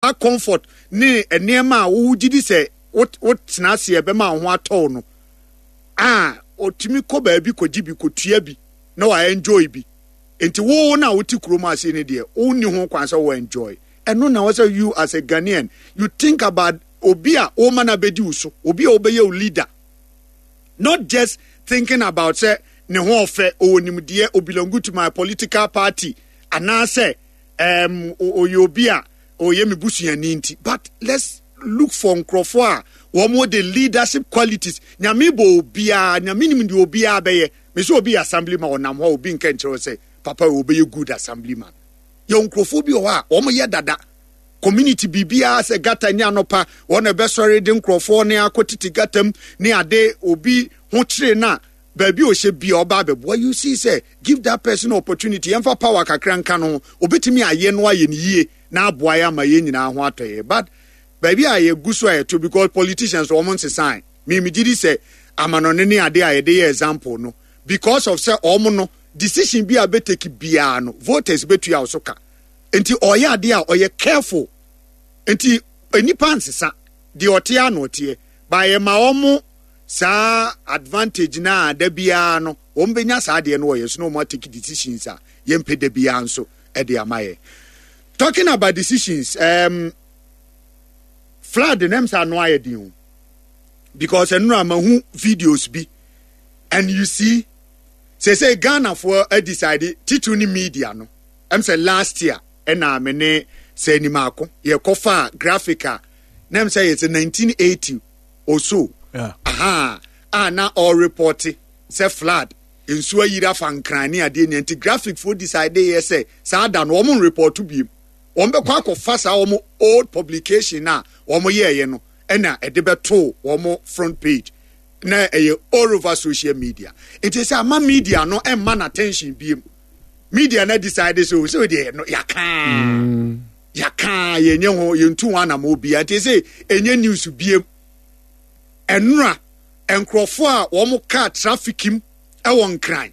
Saa comfort ne nneɛma a wogye di sɛ wotena ase ɛbɛma wo ho atɔ wo no, a ɔtumi kɔ baabi kɔgye bi, kɔtua bi na wa enjoy bi. Nti wo na wote kurom ase no deɛ, wonni ho kwan sɛ wo enjoy. Ɛno na wɔ sɛ you as a Ghanaian, you think about obi a woma no abɛdi wo so, obi a wobɛyɛ wo leader. Not just thinking about sɛ ne ho ɔfɛ, ɔwɔ nimdeɛ, ɔbelongu to my political party, anaasɛ um, ɔyɛ obi a ɔyɛ me busuani nti. But let's look for nkurɔfoɔ a wɔn de leadership qualities. Nyame bɔ obiara, Nyame nim deɛ obiara bɛyɛ. Me sɛ obi yɛ assemblyman, ɔnam hɔ a obi nka nkyerɛ sɛ papa ɔbɛyɛ good assemblyman. Yɛ nkurɔfoɔ bi wɔ hɔ a wɔn yɛ dada. Community biribiara sɛ gata nyɛ anɔpa wɔn na ɛbɛsɔre de nkurɔfoɔ ne akɔ titi gata mu ne ade obi ho kyere no a baabi a ɔhyɛ bia ɔba abɛboa. You see sɛ give that person opportunity, yɛmfa power kakra nka no ho, obɛtumi ayɛ no ayɛ no yie na aboa yɛ ama yɛn nyinaa ho atɔ yɛ. But baabi a yɛgu so a yɛto because politicians wɔn nsesan. Me megye di sɛ amanɔne ne ade a yɛde yɛ example no because of sɛ wɔn no decision bi a bɛtake biara no voters bɛtua wo so ka. Nti ɔyɛ adeɛ a ɔyɛ careful. Nti nnipa nsesa, deɛ ɔteɛ a na ɔteɛ. Ba yɛma wɔn saa advantage no a da biara no wɔn bɛnya saa adeɛ no wɔyɛ so na wɔn atake decisions a yɛmpɛ da biara nso de ama yɛ. Talking about decisions, flood na ɛm sɛ ano ayɛ den o because ɛnora mahu videos bi and you see sɛ Ghanafoɔ decide titiriw ne media no ɛm sɛ last year ɛna me ne sɛ animako yɛkɔfa graphic a na ɛm sɛ yɛ sɛ 1980 or so. Yeah. Aha a na ɔrepɔte sɛ flood nsuo ayiri afa Nkran ne adeɛ nia nti graphic foɔ decide yɛ sɛ saa da no wɔn nrepɔto biem, wɔn bɛkɔ akɔfa saa wɔn old publication a wɔn yɛɛyɛ no ɛna ɛde bɛto wɔn front page na ɛyɛ all over social media. Nti sɛ ama media no ɛmma no attention biem, media no decide sɛ sɛ deɛ no yɛaka yɛaka yɛnyɛ ho yɛntu ho anamɔ bia nti sɛ ɛnyɛ news biem. Ɛnora nkurɔfoɔ a wɔn kaa traffic mu ɛwɔ Nkran,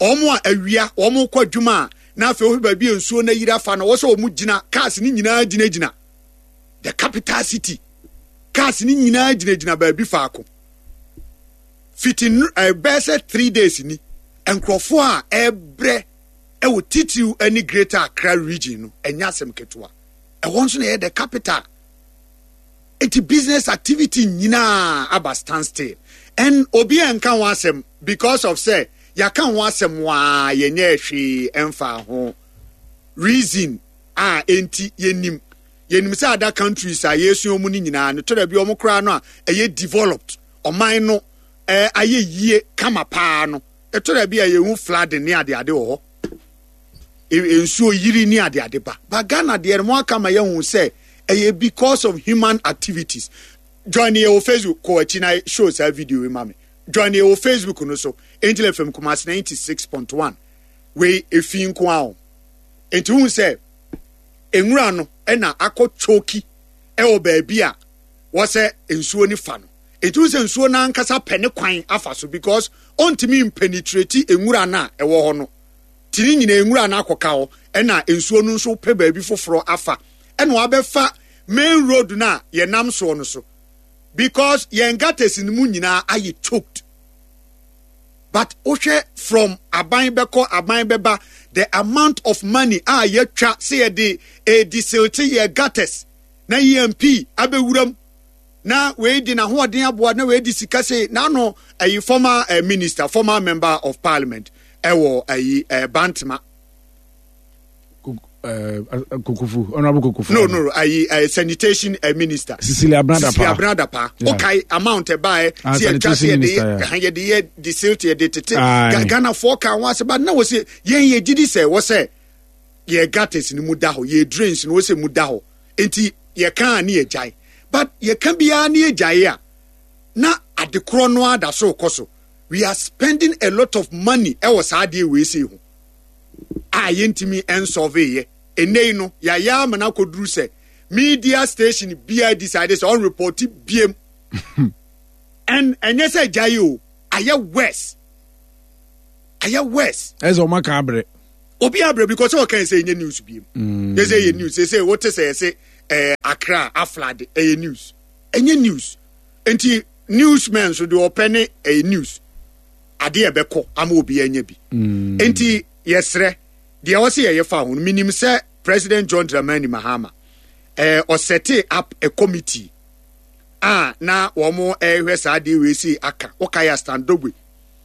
wɔn a awia wɔn kɔ adwuma a na afei wohwɛ baabi a nsuo no ayiri afa no wɔ sɛ wɔn gyina cars no nyinaa gyinagyina the capital city, cars no nyinaa gyinagyina baabi faako fiti ɛbɛyɛ sɛ 3 days ni. Nkurɔfoɔ a ɛbrɛ ɛwɔ titiriw ne Greater Accra Region no ɛnyɛ asɛm ketewa. Ɛhɔ nso na ɛyɛ the capital, nti business activity nyinaa aba stand still and obi a nka ho asɛm because of sɛ yɛaka ho asɛm waa yɛnyɛ hwee ɛmfa ho reason a enti yɛnim yɛnim sɛ other countries a yɛsua mu no nyinaa no tɔda bi ɔmo koraa no a ɛyɛ developed ɔman no ɛɛ ayɛ yie kama paa no, ɛtɔda bi a yɛhu flooding ne adeade wɔ hɔ, nsuo yiri ne adeade ba. But Ghana deɛ no mo aka ma yɛhu sɛ ɛyɛ because of human activities. Join yɛ wɔ Facebook, kɔ akyi na show saa video yi ma me. Join yɛ wɔ Facebook no so, Angel FM Kumasi 96.1. Wei efi nko a o. Nti hu sɛ nwura no ɛna akɔ choki ɛwɔ baabi a wɔsɛ nsuo no fa no. Nti hu sɛ nsuo no ankasa pɛ ne kwan afa so because ɔntumi mpenetrate nwura no a ɛwɔ hɔ no. Ti ne nyinaa nwura no akɔka hɔ ɛna nsuo no nso pɛ baabi foforɔ afa ɛna wabɛfa main road no a yɛnam soɔ no so because yɛn gutters no mu nyinaa ayɛ choked. But wohwɛ from aban bɛkɔ aban bɛba the amount of money a yɛtwa sɛ yɛde ɛdisilte yɛ gutters na EMP abɛwuram na wei de n'ahoɔden aboa na wei de sika se n'ano ɛyi former minister, former member of parliament ɛwɔ ɛyi Bantama. Kokofu, Honorable Kokofu. No, ayi sanitation minister. Cecilia Abena Dapaah. Cecilia Abena Dapaah. Yeah. Okay, amount ɛbaɛ. Ah, si ɛtwa sanitation si yɛde minister, yɛ yeah. yɛde yɛ de silt yɛde tete. Aye. Ghana foɔ ka ho ase ba na wɔ se yɛn yɛ gidi sɛ wɔ sɛ yɛ gutters no mu da hɔ, yɛ drains no wɔ sɛ mu da hɔ. Nti yɛ kan ne yɛ gyae. But yɛ ka biara ne yɛ gyae a na adekorɔ no ada so kɔ so. We are spending a lot of money ɛwɔ saa adeɛ wei sei ho a yɛntumi nsɔve yɛ. Ɛnnɛ yi no yɛayɛ ama no akɔduru sɛ media station biara decide sɛ ɔnrepɔte biem. And ɛnyɛ sɛ gyae o, ayɛ worse. Ayɛ worse. Ɛsɛ ɔma ka abrɛ. Obi abrɛ because sɛ ɔka sɛ ɛnyɛ news biem. Yɛ sɛ ɛyɛ news, sɛ sɛ wote sɛ yɛse eh, Accra aflade ɛyɛ news ɛnyɛ news nti newsmen nso deɛ ɔpɛ ne ɛyɛ news adeɛ ɛbɛkɔ ama obi anya bi mm. nti yɛsrɛ deɛ ɔsɛ yɛyɛ fa ho no menim sɛ President John Dramani Mahama eh, ɔsɛte up a committee a na wɔn ɛrehwɛ saa adeɛ wei sei aka wokae a Stan Dogbe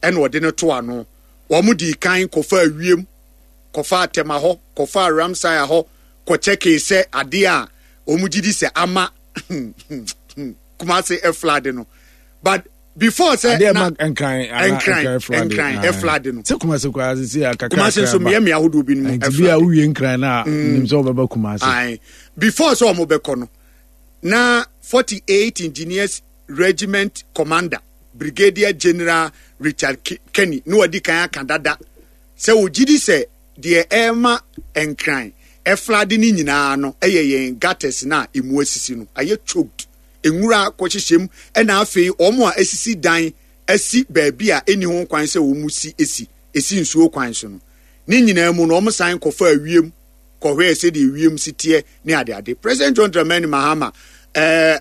ɛna ɔde no to ano wɔn dii kan kɔfa wiem kɔfa Tema hɔ kɔfa Ramsaya hɔ kɔkyɛkee sɛ adeɛ a wɔn gye di sɛ ama Kumase ɛflade no but before sɛ na nkran nkran nkran ɛflade no sɛ Kumase koraa sisi akakra Kumase nso mmea mmea ahodoɔ bi no mu ɛflade bi a wowie nkran na mm. nim sɛ wɔbɛba Kumase before sɛ wɔn bɛkɔ no na 48 Engineers Regiment Commander Brigadier General Richard Kenny na wadi kan aka dada sɛ ogye di sɛ deɛ ɛrema Nkran ɛflade no nyinaa no yɛ yɛn gutters no a emu asisi no ayɛ choked, nwura akɔhyehyɛ mu ɛna afei wɔn a asisi dan asi baabi a ɛnni ho kwan sɛ wɔn si si, ɛsi nsuo kwan so no. Ne nyinaa mu no wɔn san kɔfaa wiem kɔhwɛɛ sɛdeɛ wiem si teɛ ne adeade. President John Dramani Mahama eh,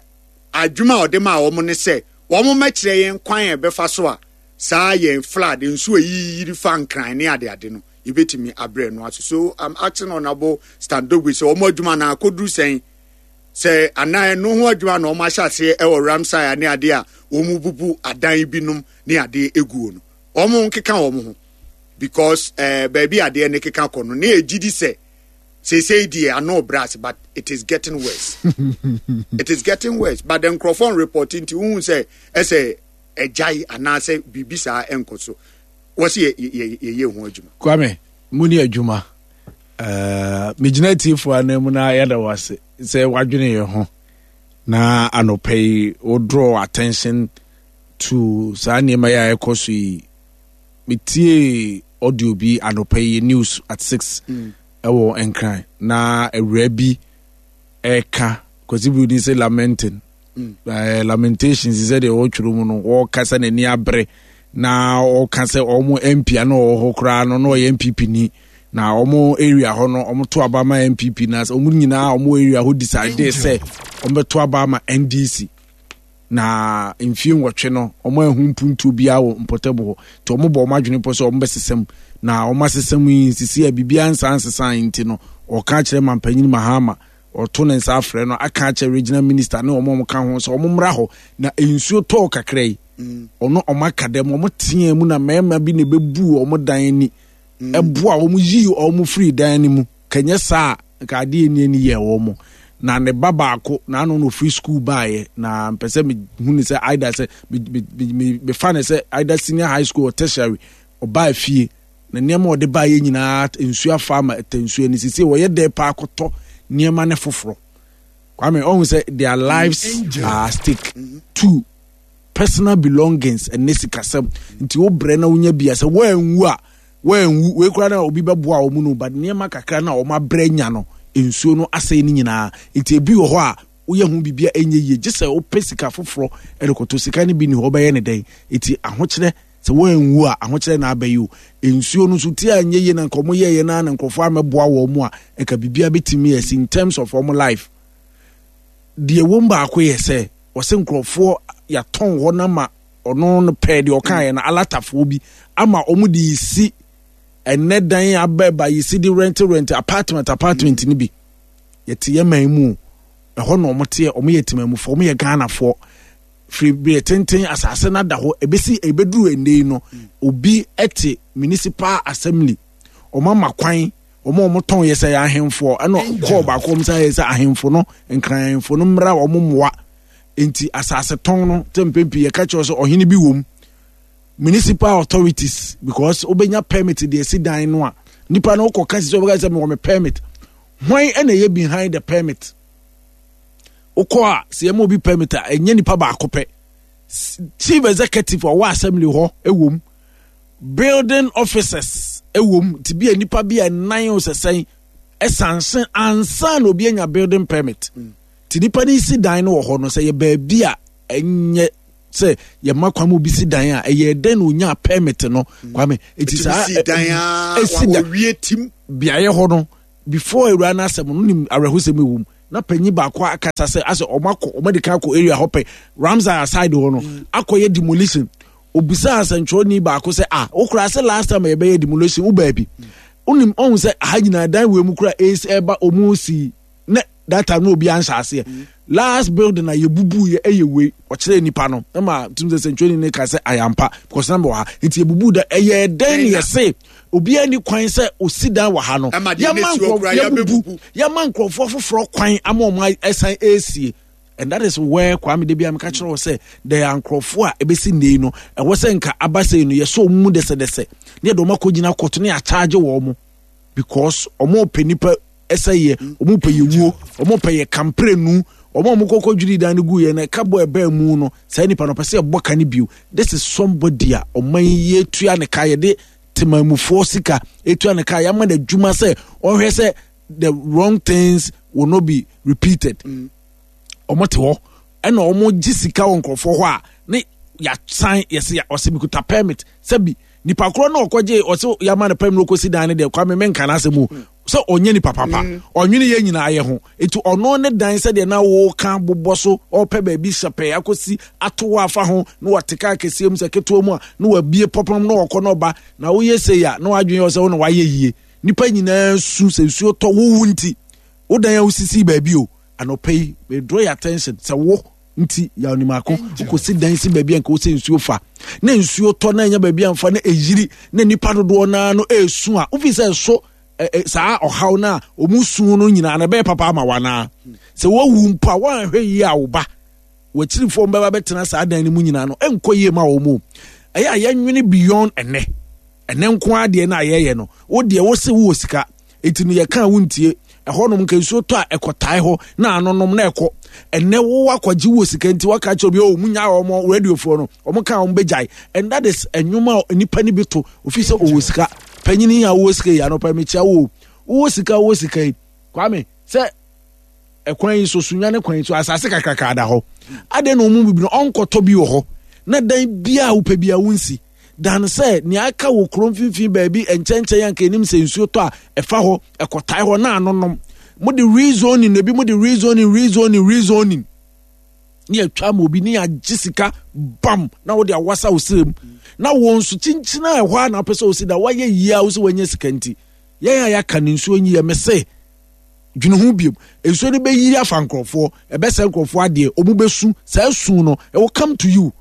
adwuma a ɔde maa wɔn ne sɛ wɔn mmɛkyerɛ yɛn kwan a ɛbɛfa so a saa yɛn flood nsuo a ɛyiyiri fa nkran ne adeade no yɛbɛtumi abrɛ no ase. So I'm asking Honorable Stan Dogbe sɛ wɔn adwuma no akɔduru sɛn sɛ anaa ɛno ho adwuma na wɔn ahyɛ aseɛ ɛwɔ Ramsar ne adeɛ a wɔn bubu adan binom ne adeɛ eguo no wɔn nkeka wɔn ho because eh, baabi adeɛ ne keka kɔ no ne yɛgye di sɛ seesei deɛ ano brɛ ase but it is getting worse it is getting worse but the nkurɔfoɔ report nti wohu sɛ ɛsɛ ɛgyae anaasɛ biribi saa ɛnkɔ so wɔ sɛ yɛyɛ ho adwuma. Kwame mu ne adwuma uh, megyina atiefoɔ anan mu na yɛda wo ase sɛ woadwene yɛn ho na anɔpa yi wo draw attention to saa nneɛma yi a ɛkɔ so yi metiee audio bi anɔpa yi news at 6 mm. ɛwɔ nkran na awura bi ɛka kwasi buroni sɛ lamenting mm. eh, lamentations sɛ deɛ ɔtwerɛ mu no wɔka sɛ n'ani abere na ɔka sɛ ɔmo mp ano ɔwɔ hɔ koraa no na ɔyɛ npp ni na ɔmo area hɔ no ɔmo to aba ma npp na ɔmo nyinaa ɔmo area hɔ decide sɛ ɔmo bɛto aba ma ndc Na mfie nwɔtwe no, wɔanhu mpuntuo biara wɔ mpɔtam hɔ. Nti wɔbɔ wɔn adwene pɔ sɛ wɔbɛsesa mu. Na wɔn asesa mu yi, nsisi a biribiara nsaa nsesae nti no, wɔka akyerɛ Mampanyin Mahama, wɔto ne nsa afrɛ no, aka akyerɛ Regional Minister ne wɔn a wɔka ho sɛ wɔmmra hɔ. Na nsuo tɔɔ kakra yi, ɔno wɔn aka dɛm, wɔn teaa mu na mmarima bi na ɛbɛbuu wɔn dan ani, ɛboa wɔn yii wɔn firii dan no mu. Kanyɛ saa a, nka adeɛ nni ani yɛɛ wɔn. Na ne ba baako, n'ano na ɔfiri sukuu baeɛ, na mpɛ sɛ mehu ne sɛ either sɛ mefa ne sɛ either senior high school or tertiary, ɔbaa fie, na nneɛma a ɔde baeɛ nyinaa nsuo afa ama ɛtɛ nsuo ani. Sisi wɔyɛ dɛ paa kɔtɔ nneɛma ne foforɔ. Kwame, ɔhu sɛ their lives are at stake. Two, personal belongings ɛne sikasɛm. Nti wobrɛ na wonya bi a sɛ woanwu a, Wɔanwu, wei koraa na obi bɛboa wɔn no, but nneɛma kakra no a wɔn abrɛ anya no, nsuo no asɛe ne nyinaa. Nti ebi wɔ hɔ a, woyɛ ho biribi a ɛnyɛ yie, gye sɛ wopɛ sika foforɔ de kɔtɔ. Sika no bi nni hɔ, wobɛyɛ ne dɛn? Nti ahokyerɛ, sɛ wɔanwu a, ahokyerɛ na aba yi o. Nsuo no nso, ti a ɛnyɛ yie na nka wɔn yɛɛyɛ no ara na nkurɔfoɔ ammɛboa wɔn a, nka biribiara bɛtumi asi in terms of wɔn life. Deɛ ɛwɔ mu baako yɛ sɛ, wɔsɛ nkurɔfoɔ yɛatɔn hɔ no ama ɔno no pɛɛ deɛ ɔkaeɛ no alatafoɔ bi ama wɔn de si ɛnɛ dan abɛɛba yɛsi de rent rent apartment apartment no bi yɛte yɛ man mu ɛhɔ na wɔn teɛ wɔn yɛ temamufoɔ wɔn yɛ Ghanafoɔ firi bere tenten asase no ada hɔ ebesi ebeduru ɛnɛ yi no obi ɛte municipal assembly wɔn ama kwan wɔn a wɔtɔn yɛ sɛ yɛ ahemfoɔ ɛna kɔɔ baako wɔn sɛ yɛ sɛ ahemfo no nkran ahemfo no mmra wɔn mmoa. Nti asase tɔn no sɛ mpɛn pii yɛka kyerɛ sɛ ɔhene bi wom municipal authorities because wobɛnya permit deɛ ɛsi dan no a nipa no wokɔ ka si sɛ wobɛka sɛ mewɔ me permit hwan ɛna ɛyɛ behind the permit wokɔ a sɛ yɛma obi permit a ɛnyɛ nipa baako pɛ chief executive ɔwɔ assembly hɔ ɛwom building officers ɛwom nti bi a nipa bi a nan o sɛ sɛn ɛsanse ansa na obi anya building permit mm. Nti nipa no si dan no wɔ hɔ no, sɛ yɛ baabi a ɛnyɛ sɛ yɛma kwan ma obi si dan a, ɛyɛ dɛn na onyaa permit no mm. kwame eti saa esi dan beaeɛ hɔ no before awura no asɛm no nim awerɛhosɛm ɛwɔ mu. Na panyin baako akasa sɛ asɛ ɔmo akɔ ɔmo adi kan akɔ area hɔ pɛ Ramsar aside hɔ no akɔyɛ demolition. Obisaa asɛntwerɛni baako sɛ ah wokora sɛ last time a yɛbɛyɛ demolition wo baabi. Wonim ɔhu sɛ aha nyinaa dan wei mu kora ɛsi ɛba ɔmo si na that time na obi anhyɛ aseɛ. Last building a yɛbubu yɛ ɛyɛ wei ɔkyerɛ nipa no ɛma tum sɛ sɛntwerɛni no ka sɛ ayampa because na mewɔ ha nti yɛbubu da ɛyɛ dɛn ne yɛse obiara ni kwan sɛ osi dan wɔ ha no yɛma yɛma nkurɔfoɔ foforɔ kwan ama wɔn ɛsan ɛresie and that is where Kwame de bia meka kyerɛ wɔ sɛ there are nkurɔfoɔ a ɛbɛsi nnei no ɛwɔ sɛ nka aba sɛ no yɛsɔ wɔn mu dɛsɛdɛsɛ ne yɛde wɔn akɔgyina kɔto ne yɛakyagye wɔn mo because wɔn pɛ nipa ɛsɛ yɛ wɔn pɛ yɛ wuo wɔn pɛ yɛ kamprenu wɔn a wɔn kɔkɔ dwiri dan no gu yɛ no ɛka bɔ ɛbɛn mu no saa nipa no ɔpɛ sɛ ɛbɔ ka no bio this is somebody a ɔman yi etua ne ka yɛde temamufoɔ sika etua ne ka yɛama no adwuma sɛ ɔhwɛ sɛ the wrong things will not be repeated mm. wɔn te hɔ ɛna wɔn gye sika wɔ nkurɔfoɔ hɔ a ne yasan yɛsɛ ɔsɛ mikuta permit sɛbi nipa korɔ na ɔkɔgye ɔsɛ yama no permit ɔkɔsi dan ne deɛ kwame menka n'asɛm o sɛ ɔnyɛ nipa papa mm. ɔnwene yɛ nyinaa yɛ ho nti ɔno ne dan sɛdeɛ na wɔka bobɔ so ɔpɛ baabi hyɛpɛɛ akɔsi ato hɔ afa ho na wɔte kaa kɛseɛ mu sɛ ketewa mu a na wabie pɔpɔm na ɔkɔ na ɔba na woyɛ sei a na wadwene yɛ sɛ wo na wayɛ yie nipa nyinaa su sɛ nsuo tɔ wowu nti wo dan a wosisi baabi o anɔpa yi me draw your attention sɛ wo nti yɛ onimako wokɔsi dan si baabi a nka wosɛ nsuo fa na nsuo tɔ na ɛnya baabi amfa na ɛyiri na nipa dodoɔ naa no ɛresu a wofi sɛ ɛso saa ɔhaw no a ɔmu su no nyinaa na ɛbɛyɛ papa ama wanaa sɛ woawu mpo a woanhwɛ yie a wo ba w'akyirifoɔ mbɛba bɛtena saa dan no mu nyinaa no ɛnkɔ yie ma wɔn mu ɛyɛ a yɛnwene beyond ɛnɛ ɛnɛ nko ara deɛ no a yɛyɛ no wo deɛ wo se wowɔ sika eti no yɛka a wontie ɛhɔnom nka nsuo tɔ a ɛkɔtae hɔ na anonom na ɛkɔ ɛnɛ wo akɔgye wɔ sika nti waka kyerɛ obi o mu nya wɔn radiofoɔ no wɔn ka wɔn bɛgyae and that is ɛnwom a nipa no bi to ofi sɛ ɔwɔ sika panyini a wowɔ sika yi anɔpa mekyia wo wowɔ sika wowɔ sika yi kwame sɛ ɛkwan yi so sunya ne kwan yi so asase kakraka da hɔ adɛn na wɔn mu bi no ɔnkɔtɔ bi wɔ hɔ na dan biara wopɛ biara wonsi dan sɛ nea aka wɔ kuro mfimfini baabi nkyɛnkyɛn anka anim sɛ nsuo tɔ a ɛfa hɔ ɛkɔtae hɔ na anonom mo de rezoning ebi mo de rezoning rezoning rezoning ne atwa ma obi ne agye sika bam na wode awasa wo srɛ mu na wɔn nso kyinkyina ɛhɔ a na apɛ sɛ osi da wayɛ yie a wosɛ wanya sika nti yɛn a yɛaka ne nsuo nyi yɛ mese Dwene ho biom. Nsuo no bɛyiri afa nkurɔfoɔ, ɛbɛsɛ nkurɔfoɔ adeɛ, wɔn bɛsu. Saa su no, it will come to you.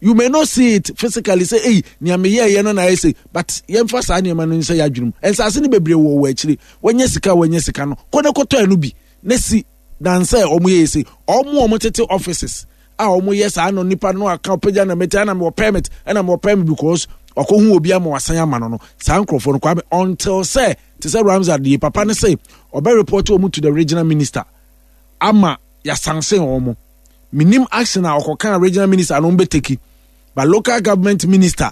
You may not see it physically sɛ, ei, nea meyɛɛyɛ no na ayɛ sei. But yɛmfa saa nneɛma no nhyɛ yɛadwene mu. Nsaase no bebree wɔ wɔ akyire. Wɔnyɛ sika a wɔnyɛ sika no, kɔ na kɔtɔ ɛno bi na si dan sɛ wɔn yɛ sei. Wɔn a wɔtete offices a wɔyɛ saa no nipa no aka ɔpɛgya na mɛti ɛna mewɔ permit ɛna mewɔ permit because ɔkɔhu obi ama wasan ama no no saa nkurɔfoɔ no kwame until sɛ te sɛ Ramsar deɛ papa no se ɔbɛ report wɔn to the regional minister ama yasansen wɔn menim action a ɔkɔka regional minister no bɛteki but local government minister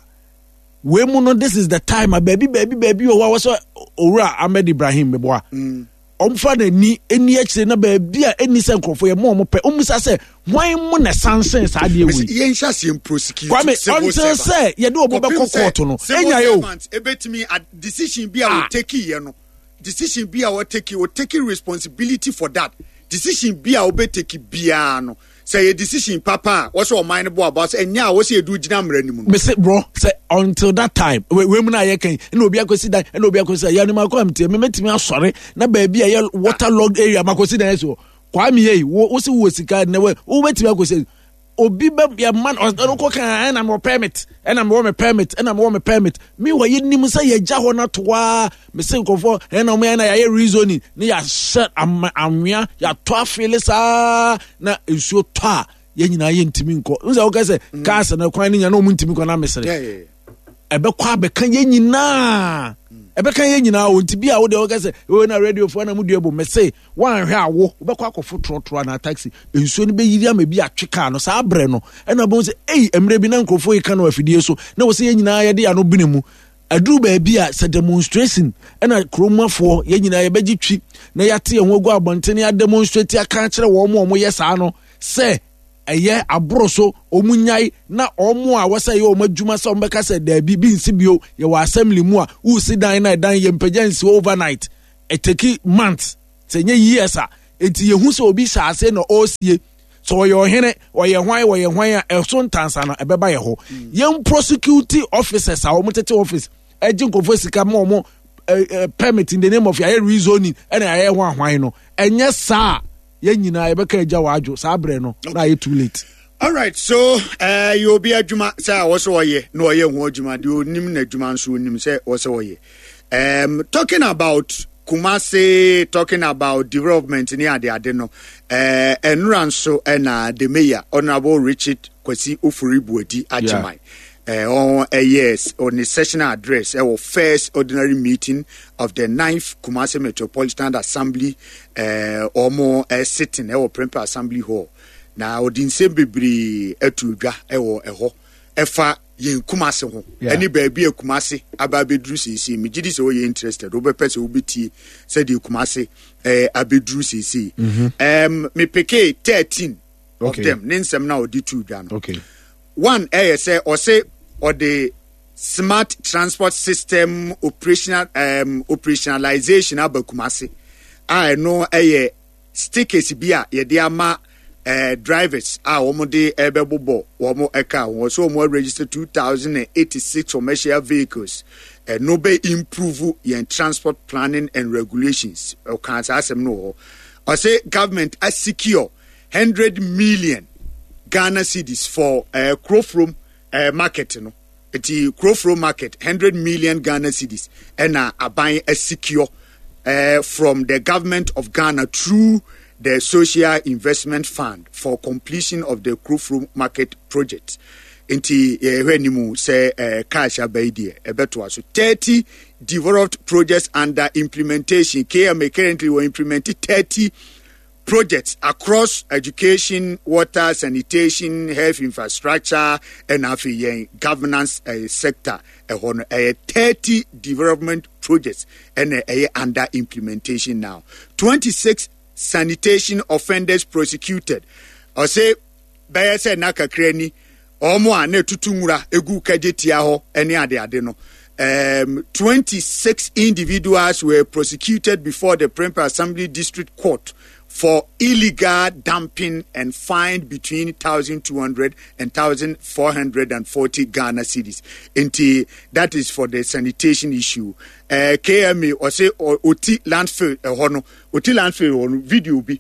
wei mu no this is the time a baabi baabi baabi wɔ hɔ a wɔsɛ owura Ahmed Ibrahim meboa mm. ɔmfa n'ani ɛni akyire na baabi a ɛni sɛ nkurɔfoɔ yɛ mo ɔmo pɛ ɔmmisa sɛ hwan mu na ɛsansen saa adeɛ wei yɛnhyɛ aseɛ mprosecute Kwame until sɛ yɛde ɔmo bɛkɔ kɔɔto no ɛnya yɛ o ɛbɛtumi decision bi a ah. wɔteki yɛ no decision bi a wɔteki wɔteki responsibility for that decision bi a wɔbɛteki biara no sɛ yɛ decision papa a wɔsɛ ɔman no bɔ aba sɛ ɛnyɛ a wɔsɛ yɛdu gyina mmara no mu no. mese bro sɛ until that time wei mu no a yɛka yi ɛna obi akɔsi dan ɛna obi akɔsi dan yɛne makɔ amteɛ memɛtumi asɔre na baabi a ɛyɛ water log area makɔsi dan asi hɔ kwame yei wo wo se wowɔ sika nnɛ wɔ wobɛtumi akɔsi obi bɛ yɛ man ɔno kɔ kan ɛna mewɔ permit ɛna mewɔ me permit ɛna mewɔ me permit meanwhile yɛnim sɛ yɛgya hɔ no ato a mese nkurɔfoɔ ɛna ɔmo yɛ na yɛayɛ rezoning ne yɛahyɛ anwea yɛatɔ afeele saa na nsuo tɔ a yɛn nyinaa yɛntumi nkɔ n sɛ wokɛ sɛ mm. cars no kwan no nya na ɔmo ntumi kɔ na mesere ɛbɛkɔ abɛka yɛn nyinaa ɛbɛka yɛn nyinaa o nti bi a wo deɛ wɔka sɛ o na radiofoɔ na mo dua bɔ mɛse wɔanhwɛ awo wobɛkɔ akɔfo trɔtrɔ anaa taxi nsuo no bɛyiri ama bi atwe kaa no saa berɛ no ɛna bɛhu sɛ ei mmerɛ bi na nkurɔfoɔ yi ka no afidie so na wɔ sɛ yɛn nyinaa yɛde ano bene mu aduru baabi a sɛ demonstration ɛna kuromafoɔ yɛn nyinaa yɛbɛgye twi na yɛate yɛn ho agu abɔnten ademonstrate aka akyerɛ wɔn a wɔyɛ saa no sɛ ɛyɛ aboro so, wɔn nyae na wɔn a wɔsɛ yɛ wɔn adwuma sɛ wɔn bɛka sɛ daabi bi nsi bio yɛwɔ assembly mu a wusi dan na ɛdan yɛ mpagya nsi overnight ɛtɛki months sɛ nyɛ years a. Enti yɛhu sɛ obi hyɛ ase na ɔresie sɛ ɔyɛ ɔhene ɔyɛ hwan ɔyɛ hwan a ɛso ntansa no ɛbɛba yɛ hɔ. Yɛn prosecute officers a wɔn tete office ɛgye nkurɔfoɔ sika ma wɔn permit in the name of yɛayɛ rezoning ɛna yɛayɛ ho ahwan no ɛnyɛ saa yɛn nyinaa yɛbɛka agya wɔ adwo saa berɛ no na ayɛ too late. Alright, so uh, yɛ obi adwuma sɛ a wɔsɛ ɔyɛ na ɔyɛ ho adwuma deɛ onim n'adwuma nso onim sɛ wɔsɛ ɔyɛ. Talking about Kumasi, talking about development ne ade ade no, ɛnora nso ɛna the mayor Honourable Richard Kwasi Ofori Buadi Agyeman ɔn ɛyɛ ɔne sessional address ɛwɔ first ordinary meeting of the ninth Kumasi Metropolitan Assembly ɔmo sitting ɛwɔ Prempeh Assembly Hall. Na ɔde nsɛm bebree ato dwa wɔ ɛhɔ ɛfa yɛn Kumase ho ɛne baabi a Kumase aba abɛduru seesei. Megye di sɛ woyɛ interested, wobɛpɛ sɛ wobɛtie sɛdeɛ Kumase eh, abɛduru seesei. Mepekee 13 of them ne nsɛm no a ɔde too dwa no. One ɛyɛ sɛ ɔse ɔde smart transport system operational operationalization aba Kumase a ɛno ɛyɛ stickers bi a yɛde ama eh, drivers a wɔn de ɛbɛbobɔ wɔn car ho. Wɔsɛ wɔn register 2086 commercial vehicles. Ɛno bɛ improve yɛn transport planning and regulations. Ɔka saa asɛm no wɔ hɔ. Ɔsɛ government asecure 100 million Ghana cedis for eh, Kurofrom eh, market no. Nti Kurofrom market 100 million Ghana cedis ɛna aban asecure from the government of Ghana through the Social Investment Fund for completion of the Kurofrom market project. Nti yɛhwɛ anim sɛ cash aba yi deɛ ɛbɛtoa so. 30 developed projects under implementation. KMA currently will implement 30 projects across education, water, sanitation, health infrastructure, ɛna afei yɛn governance sector ɛhɔ no ɛyɛ 30 development projects ɛna ɛyɛ under implementation now. 26 sanitation offenders prosecuted. Ɔse bɛyɛ sɛ nna kakra ni wɔn a na ɛtutu nwura egu kagye tia hɔ ne adeade no. 26 individuals were prosecuted before the Prempeh Assembly District Court for illegal dumping and fined between 1,200 and 1,440 Ghana cedis. Nti, that is for the sanitation issue. KMA, ɔse oti landfill ɛhɔ no, oti landfill hɔ no, video bi,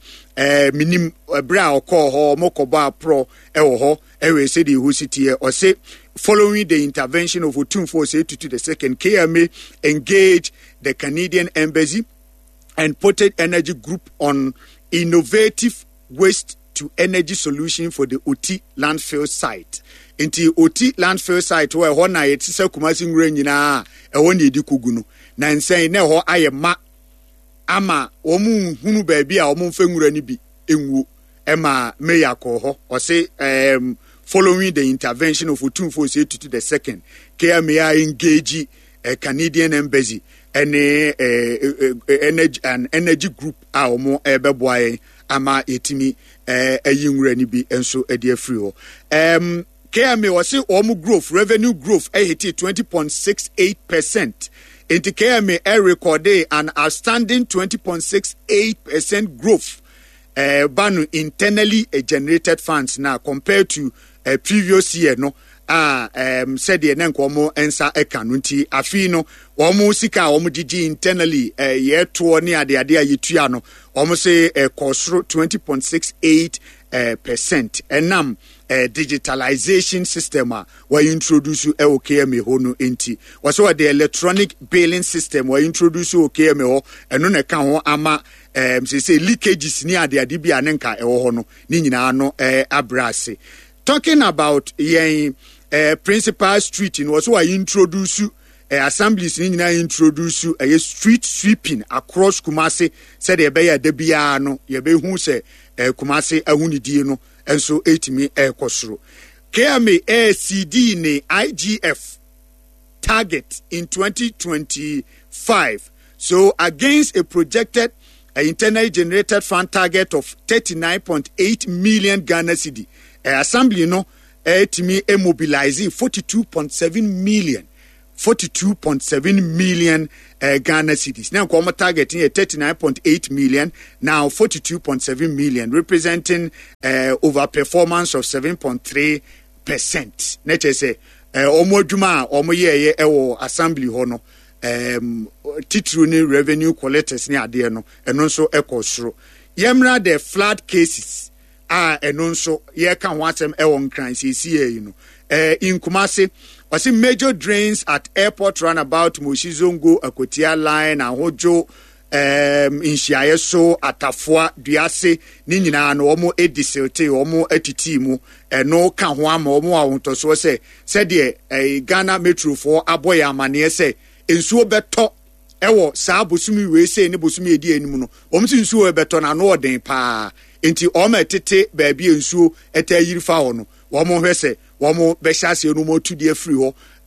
minim ɛberɛ a ɔkɔɔ hɔ, ɔmo kɔbɔ aporɔ ɛwɔ hɔ, ɛwɛ sɛdeɛ ɛhɔ si teɛ. Ɔse, following the intervention of Otumfuo Osei Tutu the second, KMA engaged the Canadian Embassy and Portage Energy Group on innovative waste to energy solution for the Oti landfill site. Nti Oti landfill site hɔ ɛhɔ na yɛte sɛ Kumasi nwura nyinaa ɛhɔ na yɛdi kogu no. Na nsɛn na ɛhɔ ayɛ ma ama wɔn nhunu baabi a wɔn mfa nwura no bi nwuo. Ɛma mayor kɔɔ hɔ ɔse following the intervention of Otumfuo Osei Tutu the second, KMA engage Canadian Embassy ɛne energy an energy group a wɔn ɛbɛboa yɛn ama yɛtumi ayi nwura no bi nso de afiri hɔ. KMA wɔse wɔn growth revenue growth ɛhete 20.68%. Nti KMA ɛrekɔde an outstanding 20.68% growth ɛba no internally generated funds na compared to previous year no a sɛdeɛ na nka wɔn nsa ka no. Nti afei no wɔn sika a wɔn gyegye internally yɛtoɔ ne adeade a yɛtua no wɔn se ɛkɔ soro 20.68 percent ɛnam digitalization system a wɔn introduce ɛwɔ KMA hɔ no. Nti wɔsɛ wɔde electronic billing system wɔn introduce wɔ KMA hɔ, ɛno na ɛka ho ama sese leakages ne adeade bi a ne nka ɛwɔ hɔ no ne nyinaa no abrɛ ase. Talking about yɛn principal street no, wɔsɛ wɔn introduce assemblies ne nyinaa introduce ɛyɛ street sweeping across Kumasi sɛdeɛ ɛbɛyɛ ɛda biara no yɛbɛhu sɛ Kumasi ahonidie no nso ɛtumi ɛrekɔ soro. KMA ACD ne IGF target in 2025. So against a projected internally generated fund target of 39.8 million Ghana cedi, assembly no ɛtumi mobilize 42.7 million. 42.7 million Ghana cedis. Na nka wɔn target yɛ 39.8 million, now 42.7 million, representing overperformance of 7.3 percent. Na kyerɛ sɛ wɔn adwuma a wɔn yɛɛyɛ wɔ assembly hɔ no, titiriw ne revenue collectors ne adeɛ no, ɛno nso ɛkɔ soro. Yɛmmra the flood cases a ɛno nso yɛka ho asɛm ɛwɔ Nkran seesei yi no. In Kumasi, ɔse major drains at airport runabout, Moshi Zongo, Akotia line, Ahodwo, Nhyiaeɛ so, Atafoa, Duase, ne nyinaa no wɔn adi silte, wɔn atiti mu. Ɛno ka ho ama wɔn ahotɔsoɔ sɛ sɛdeɛ Ghana Metrofoɔ abɔ yɛn amaneɛ sɛ nsuo bɛtɔ ɛwɔ saa bosome wei sei ne bosome edi anim no, wɔn si nsuo ɛbɛtɔ no ano ɔden paa. Nti wɔn a ɛtete baabi a nsuo ɛtaa yiri fa hɔ no, wɔn hwɛ sɛ wɔn bɛhyɛ aseɛ no wɔn atu de afiri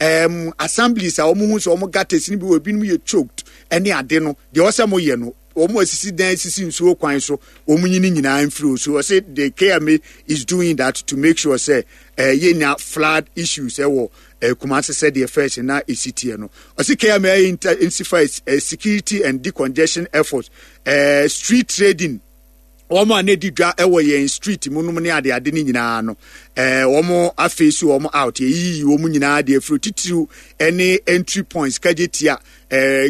hɔ. Assemblies a wɔn hu sɛ wɔn gutters no bi wɔ ebinom yɛ choked ɛne ade no, deɛ ɔsɛ mo yɛ no, wɔn asisi dan sisi nsuo kwan so, wɔn nyi ne nyinaa mfiri hɔ. So ɔsɛ the KMA is doing that to make sure sɛ yɛnya flood issues ɛwɔ Kumasi sɛdeɛ first na esi teɛ no. Ɔsɛ KMA intensify security and decongestion efforts, street trading, wɔn a na edi dwa wɔ yɛn street mu nom ne adeade no nyinaa no, wɔn afei so wɔn out, yɛyiyi wɔn nyinaa de afiri titiriw ne entry points, kagye tia,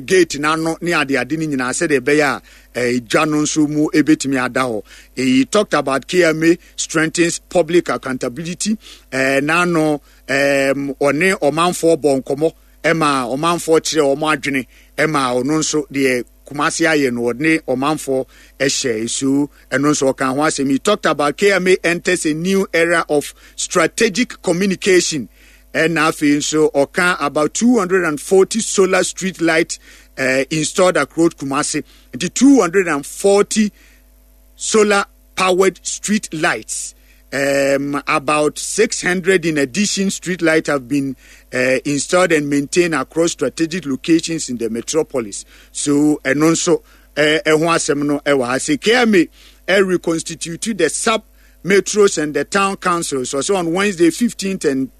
gate n'ano ne adeade no nyinaa sɛdeɛ ɛbɛyɛ a dwa no nso mu ebetumi ada hɔ. He talked about KMA strengthens public accountability, n'ano ɔne ɔmanfoɔ bɔ nkɔmmɔ ma ɔmanfoɔ kyerɛ wɔn adwene ma ɔno nso deɛ Kumasi ayɛ no ɔne ɔmanfoɔ hyɛ so ɛno nso ɔka ho asɛm. He talked about KMA enters a new era of strategic communication. Ɛna afei nso ɔka about 240 solar street light installed across Kumasi. Nti 240 solar powered street lights. About 600 in addition street lights have been installed and maintained across strategic locations in the metropolis. So, ɛno nso ɛho asɛm no ɛwɔ ha. Sɛ KMA reconstitute the sub metros and the town councils. So, on Wednesday 15th and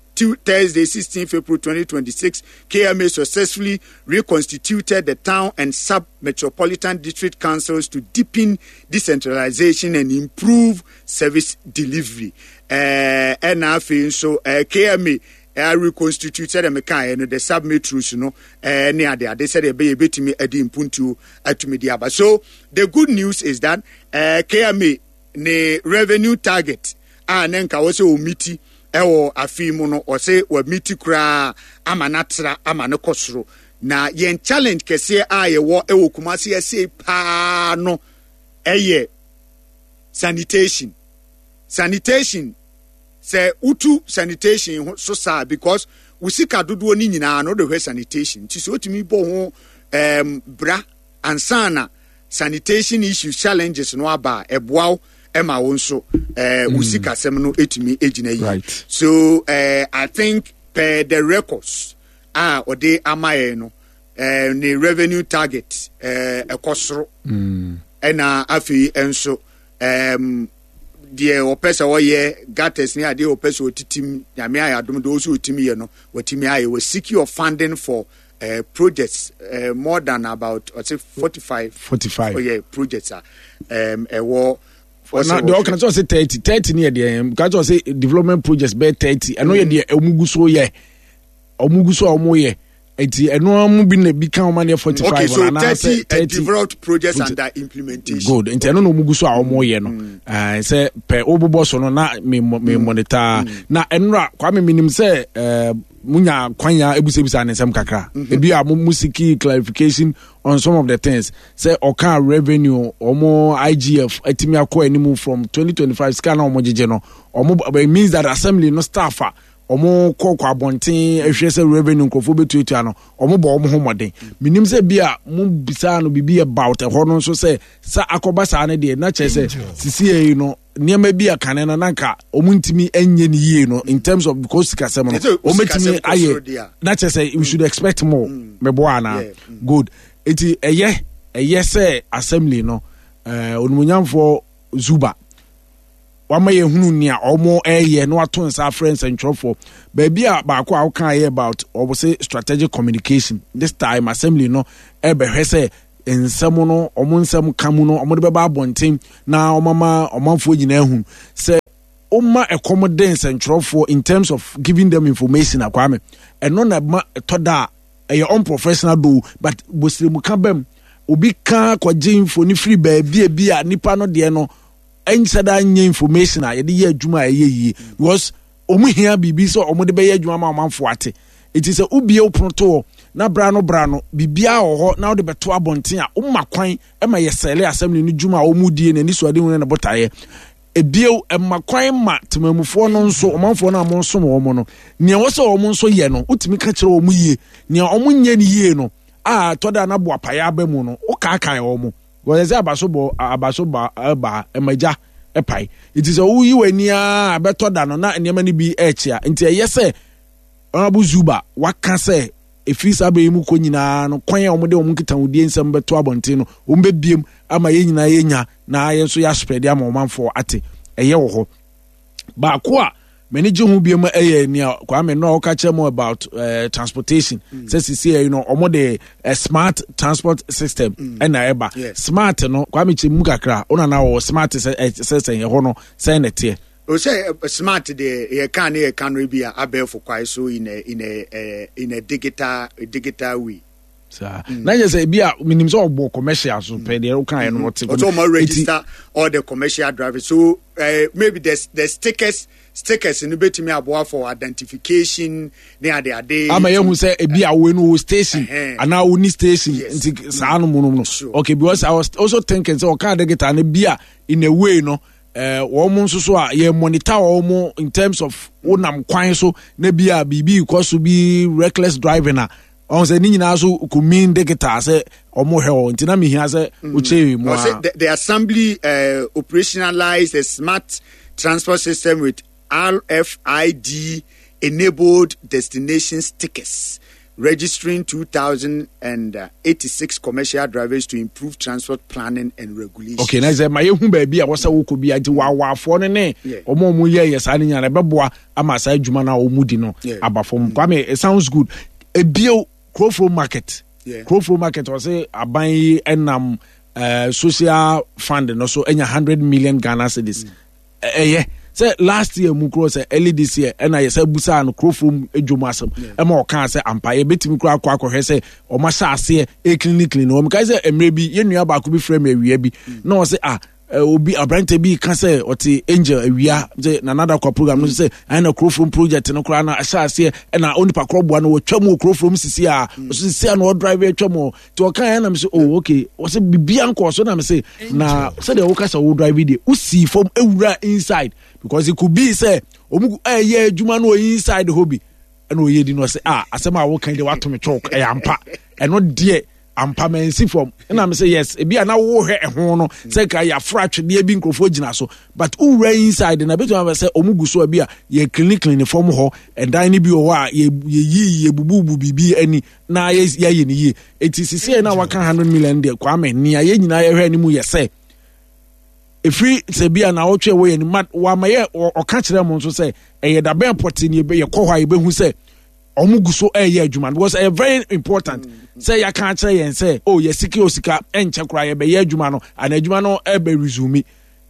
Thursday 16th April 2026, KMA successfully reconstituted the town and sub-metropolitan district councils to deepen decentralization and improve service delivery. Ɛna afei nso KMA reconstitute sɛdeɛ mekaeɛ no the sub metros no ne ade ade sɛdeɛ ɛbɛyɛ ɛbɛtumi adi mpuntuo atumi de aba. So the good news is that KMA ne revenue target a ne nka wɔ sɛ ɔmiti ɛwɔ afe mu no, ɔsɛ wamiti koraa ama no atra ama no kɔ soro. Na yɛn challenge kɛseɛ a yɛwɔ ɛwɔ Kumasi ɛsei paa no ɛyɛ sanitation. Sanitation, sɛ wotu sanitation ho so saa because wo sika dodoɔ no nyinaa no wode hwɛ sanitation, nti sɛ wotumi bɔ ho bra ansa na sanitation issues challenges no aba a, ɛboa wo ɛma wo nso wo sikasɛm no ɛtumi gyina yie. So I think per the records a ɔde ama yɛn no, ne revenue target ɛkɔ soro. Ɛna afei nso deɛ ɔpɛ sɛ ɔyɛ gutters ne adeɛ ɔpɛ sɛ ɔtitim, Nyame ayɛ adom deɛ ɔsɛ ɔtumi yɛ no watumi ayɛ. Wɔ secure funding for projects more than about ɔsɛ 45 45 oh, yeah, projects a ɛwɔ na deɛ ɔka sɛ ɔsɛ 30 30 ne yɛ deɛ ka sɛ ɔsɛ development projects bɛyɛ 30 ɛno yɛ deɛ ɔmu gu so yɛ ɔmu gu so a ɔmu yɛ nti ɛno mu bi na bi ka ɔma ne yɛ 45 okay, so 30, 30 developed projects under implementation. Good nti ɛno na ɔmu gu so a ɔmu yɛ no sɛ pɛ wobobɔ so no na me monitor na ɛnora Kwame menim sɛ munya kwan ya ebisabisa ne nsɛm kakra. Ebi a mo seek clarification on some of the things sɛ ɔka revenue ɔmo IGF atumi akɔ anim from 2025 sika na ɔmo gyegye no ɔmo, it means that assembly no staff a ɔmo kɔ kɔ abɔnten ehwɛ sɛ revenue nkurɔfoɔ bɛtuatua no ɔmo bɔ ɔmo ho mmɔden. Menim sɛ bi a mo bisaa no biribi about ɛhɔ no nso sɛ sɛ akɔba saa no deɛ na kyerɛ sɛ sisi yi no nneɛma bi a kane no na nka wɔn ntumi nyɛ ne yie no in terms of because sikasɛm no wɔn bɛtumi ayɛ na kyerɛ sɛ we should expect more. Mɛboa anaa? Good. Eti ɛyɛ sɛ assembly no onimonyamfoɔ Zuba. Wama yɛhunu nea wɔn ɛyɛ na wato nsa afrɛ nsɛntwerɛfoɔ. Baabi a baako a woka yɛ about wɔn se strategic communication. This time assembly no ɛbɛhwɛ sɛ nsɛm no wɔn nsɛm ka mu no wɔn de bɛba abɔnten na wɔn ama ɔmanfoɔ nyinaa hu sɛ woma ɛkɔm de nsɛntwerɛfoɔ in terms of giving them information akwame ɛno na ɛma ɛtɔ da a ɛyɛ unprofessional though but bosiremu bɛm obi ka kɔgye mfoni firi baabi a bi a nipa no deɛ no ɛnhyɛ da nyɛ information a yɛde yɛ adwuma a ɛyɛ yie because wɔn hia biribi sɛ wɔn de bɛyɛ adwuma ma ɔmanfoɔ ate eti sɛ wobie wo pono to hɔ na bra no bra no biribiara wɔ hɔ na wode bɛto abɔnten a woma kwan ma yɛ sɛle assembly no dwuma a wɔn die na anisoade hu ne ne botaeɛ ebio ɛma kwan ma temamufoɔ no nso ɔmanfoɔ no a wɔnsom wɔn no nea ɛwɔ sɛ wɔn nso yɛ no wotumi ka kyerɛ wɔn yie nea wɔn nyɛ no yie no a tɔ da na boapaeɛ aba mu no wokaakae wɔn. Wɔyɛ sɛ abaso bɔ abaso ba ba ɛma gya ɛpae. Nti sɛ woyi w'ani ara bɛtɔ da no na nneɛma no bi ɛrekyea. Nti ɛyɛ sɛ Honourable Zuba waka sɛ ɛfiri saa bere yi mu kɔ nyinaa no kwan a wɔde wɔn nkitahodie nsɛm bɛto abɔnten no wɔn bɛbiem ama yɛn nyinaa yɛnya na yɛn nso yɛasprɛde ama ɔmanfoɔ ate. Ɛyɛ wɔ hɔ. Baako a m'ani gye ho biom yɛ nea Kwame no a ɔka kyerɛ mu about transportation sɛ sisi yɛ no wɔn de smart transport system ɛna ɛba smart no Kwame kyerɛ mu kakra ɔna na wɔ smart sɛ sɛ sɛ ɛhɔ no sɛn na ɛteɛ. O sɛ smart deɛ yɛ kan ne yɛ kan no bi a abɛɛfo kwae so in a in a in a digital digital way. Saa na yɛ sɛ ebi a menim sɛ ɔbɔ commercial so pɛ deɛ woka yɛ no ɔte. Ɔsɛ ɔma register all the commercial drivers so maybe the the stickers stickers no betumi aboa for identification ne ade ade. Ama yɛhu sɛ ebi a wo no wo station anaa wo ni station nti saa no mu no no okay because I was also thinking sɛ ɔka digital no bi a in a way no wɔn nso so a yɛ monitor wɔn in terms of wonam kwan so na bi a biribi kɔ so bi reckless driving a. Ɔn sɛ ne nyinaa so could mean digital sɛ ɔmo hwɛ hɔ nti na mehia sɛ wokyerɛ mu a. The assembly operationalized a smart transport system with RFID enabled destination stickers, registering 2,086 commercial drivers to improve transport planning and regulation. Okay, na sɛ ma yɛhu baabi a wɔsɛ wokɔ bi a nti waawaafoɔ no ne ɔmo a ɔmo yɛ yɛ saa no nyinaa ɛbɛboa ama saa adwuma no a wɔn di no aba fam. Kwame, it sounds good. Ebio Kurofuro market. Kurofuro market ɔsɛ aban yi ɛnam social fund no so ɛnya 100 million Ghana cedis. Ɛyɛ sɛ last year mu kuro sɛ early this year ɛna yɛ sɛ busaa no kurofuro dwom asɛm ɛma ɔkaa sɛ ampa yɛbɛtumi kura akɔ akɔhwɛ sɛ ɔma hyɛ aseɛ ɛclean clean wɔn kae sɛ mmerɛ bi yɛn nua baako bi frɛ me awia bi na ɔsɛ ah obi aberante bi ka sɛ ɔte angel awia sɛ nanada kwa program no sɛ ɛna na kurofrom project no koraa na ɛhyɛ aseɛ ɛna onipa korɔ boa no wɔtwa mu wɔ kurofrom sisi a ɔso sisi a na ɔdrive atwa mu nti ɔka yɛn nam sɛ oh okay ɔsɛ bibia nkɔɔ so nam sɛ na sɛdeɛ woka sɛ wo drive deɛ wosii fam awura inside because it could be sɛ ɔmu ɛyɛ adwuma no wɔ inside hɔ bi ɛna ɔyɛ di no ɔsɛ ah asɛm a woka deɛ wato me chalk ɛyɛ ampa ɛno deɛ ampa mansi fam ɛna me sɛ yes ebi a na wohwɛ ɛho no sɛ nka yɛaforo atwedeɛ bi nkurɔfoɔ gyina so but wowura inside na bɛtumi abɛ sɛ ɔmo gu so a bi a yɛ clean clean fam hɔ ɛdan no bi wɔ hɔ a yɛyi yɛbububu biribi ani na yɛayɛ no yie eti sisi yɛ na waka 100 million deɛ Kwame nea yɛn nyinaa yɛhwɛ anim yɛ sɛ ɛfiri sɛ bi a na awɔtwe ɛwɔ yɛn anim wama yɛ ɔka kyerɛ mo nso sɛ ɛyɛ dabɛn pɔte ne yɛkɔ hɔ a yɛbɛhu sɛ ɔmo gu so ɛyɛ adwuma no because ɛyɛ very important sɛ yɛaka akyerɛ yɛn sɛ oh yɛsiki osika ɛnkyɛ koraa yɛbɛyɛ adwuma no ana adwuma no ɛbɛ resume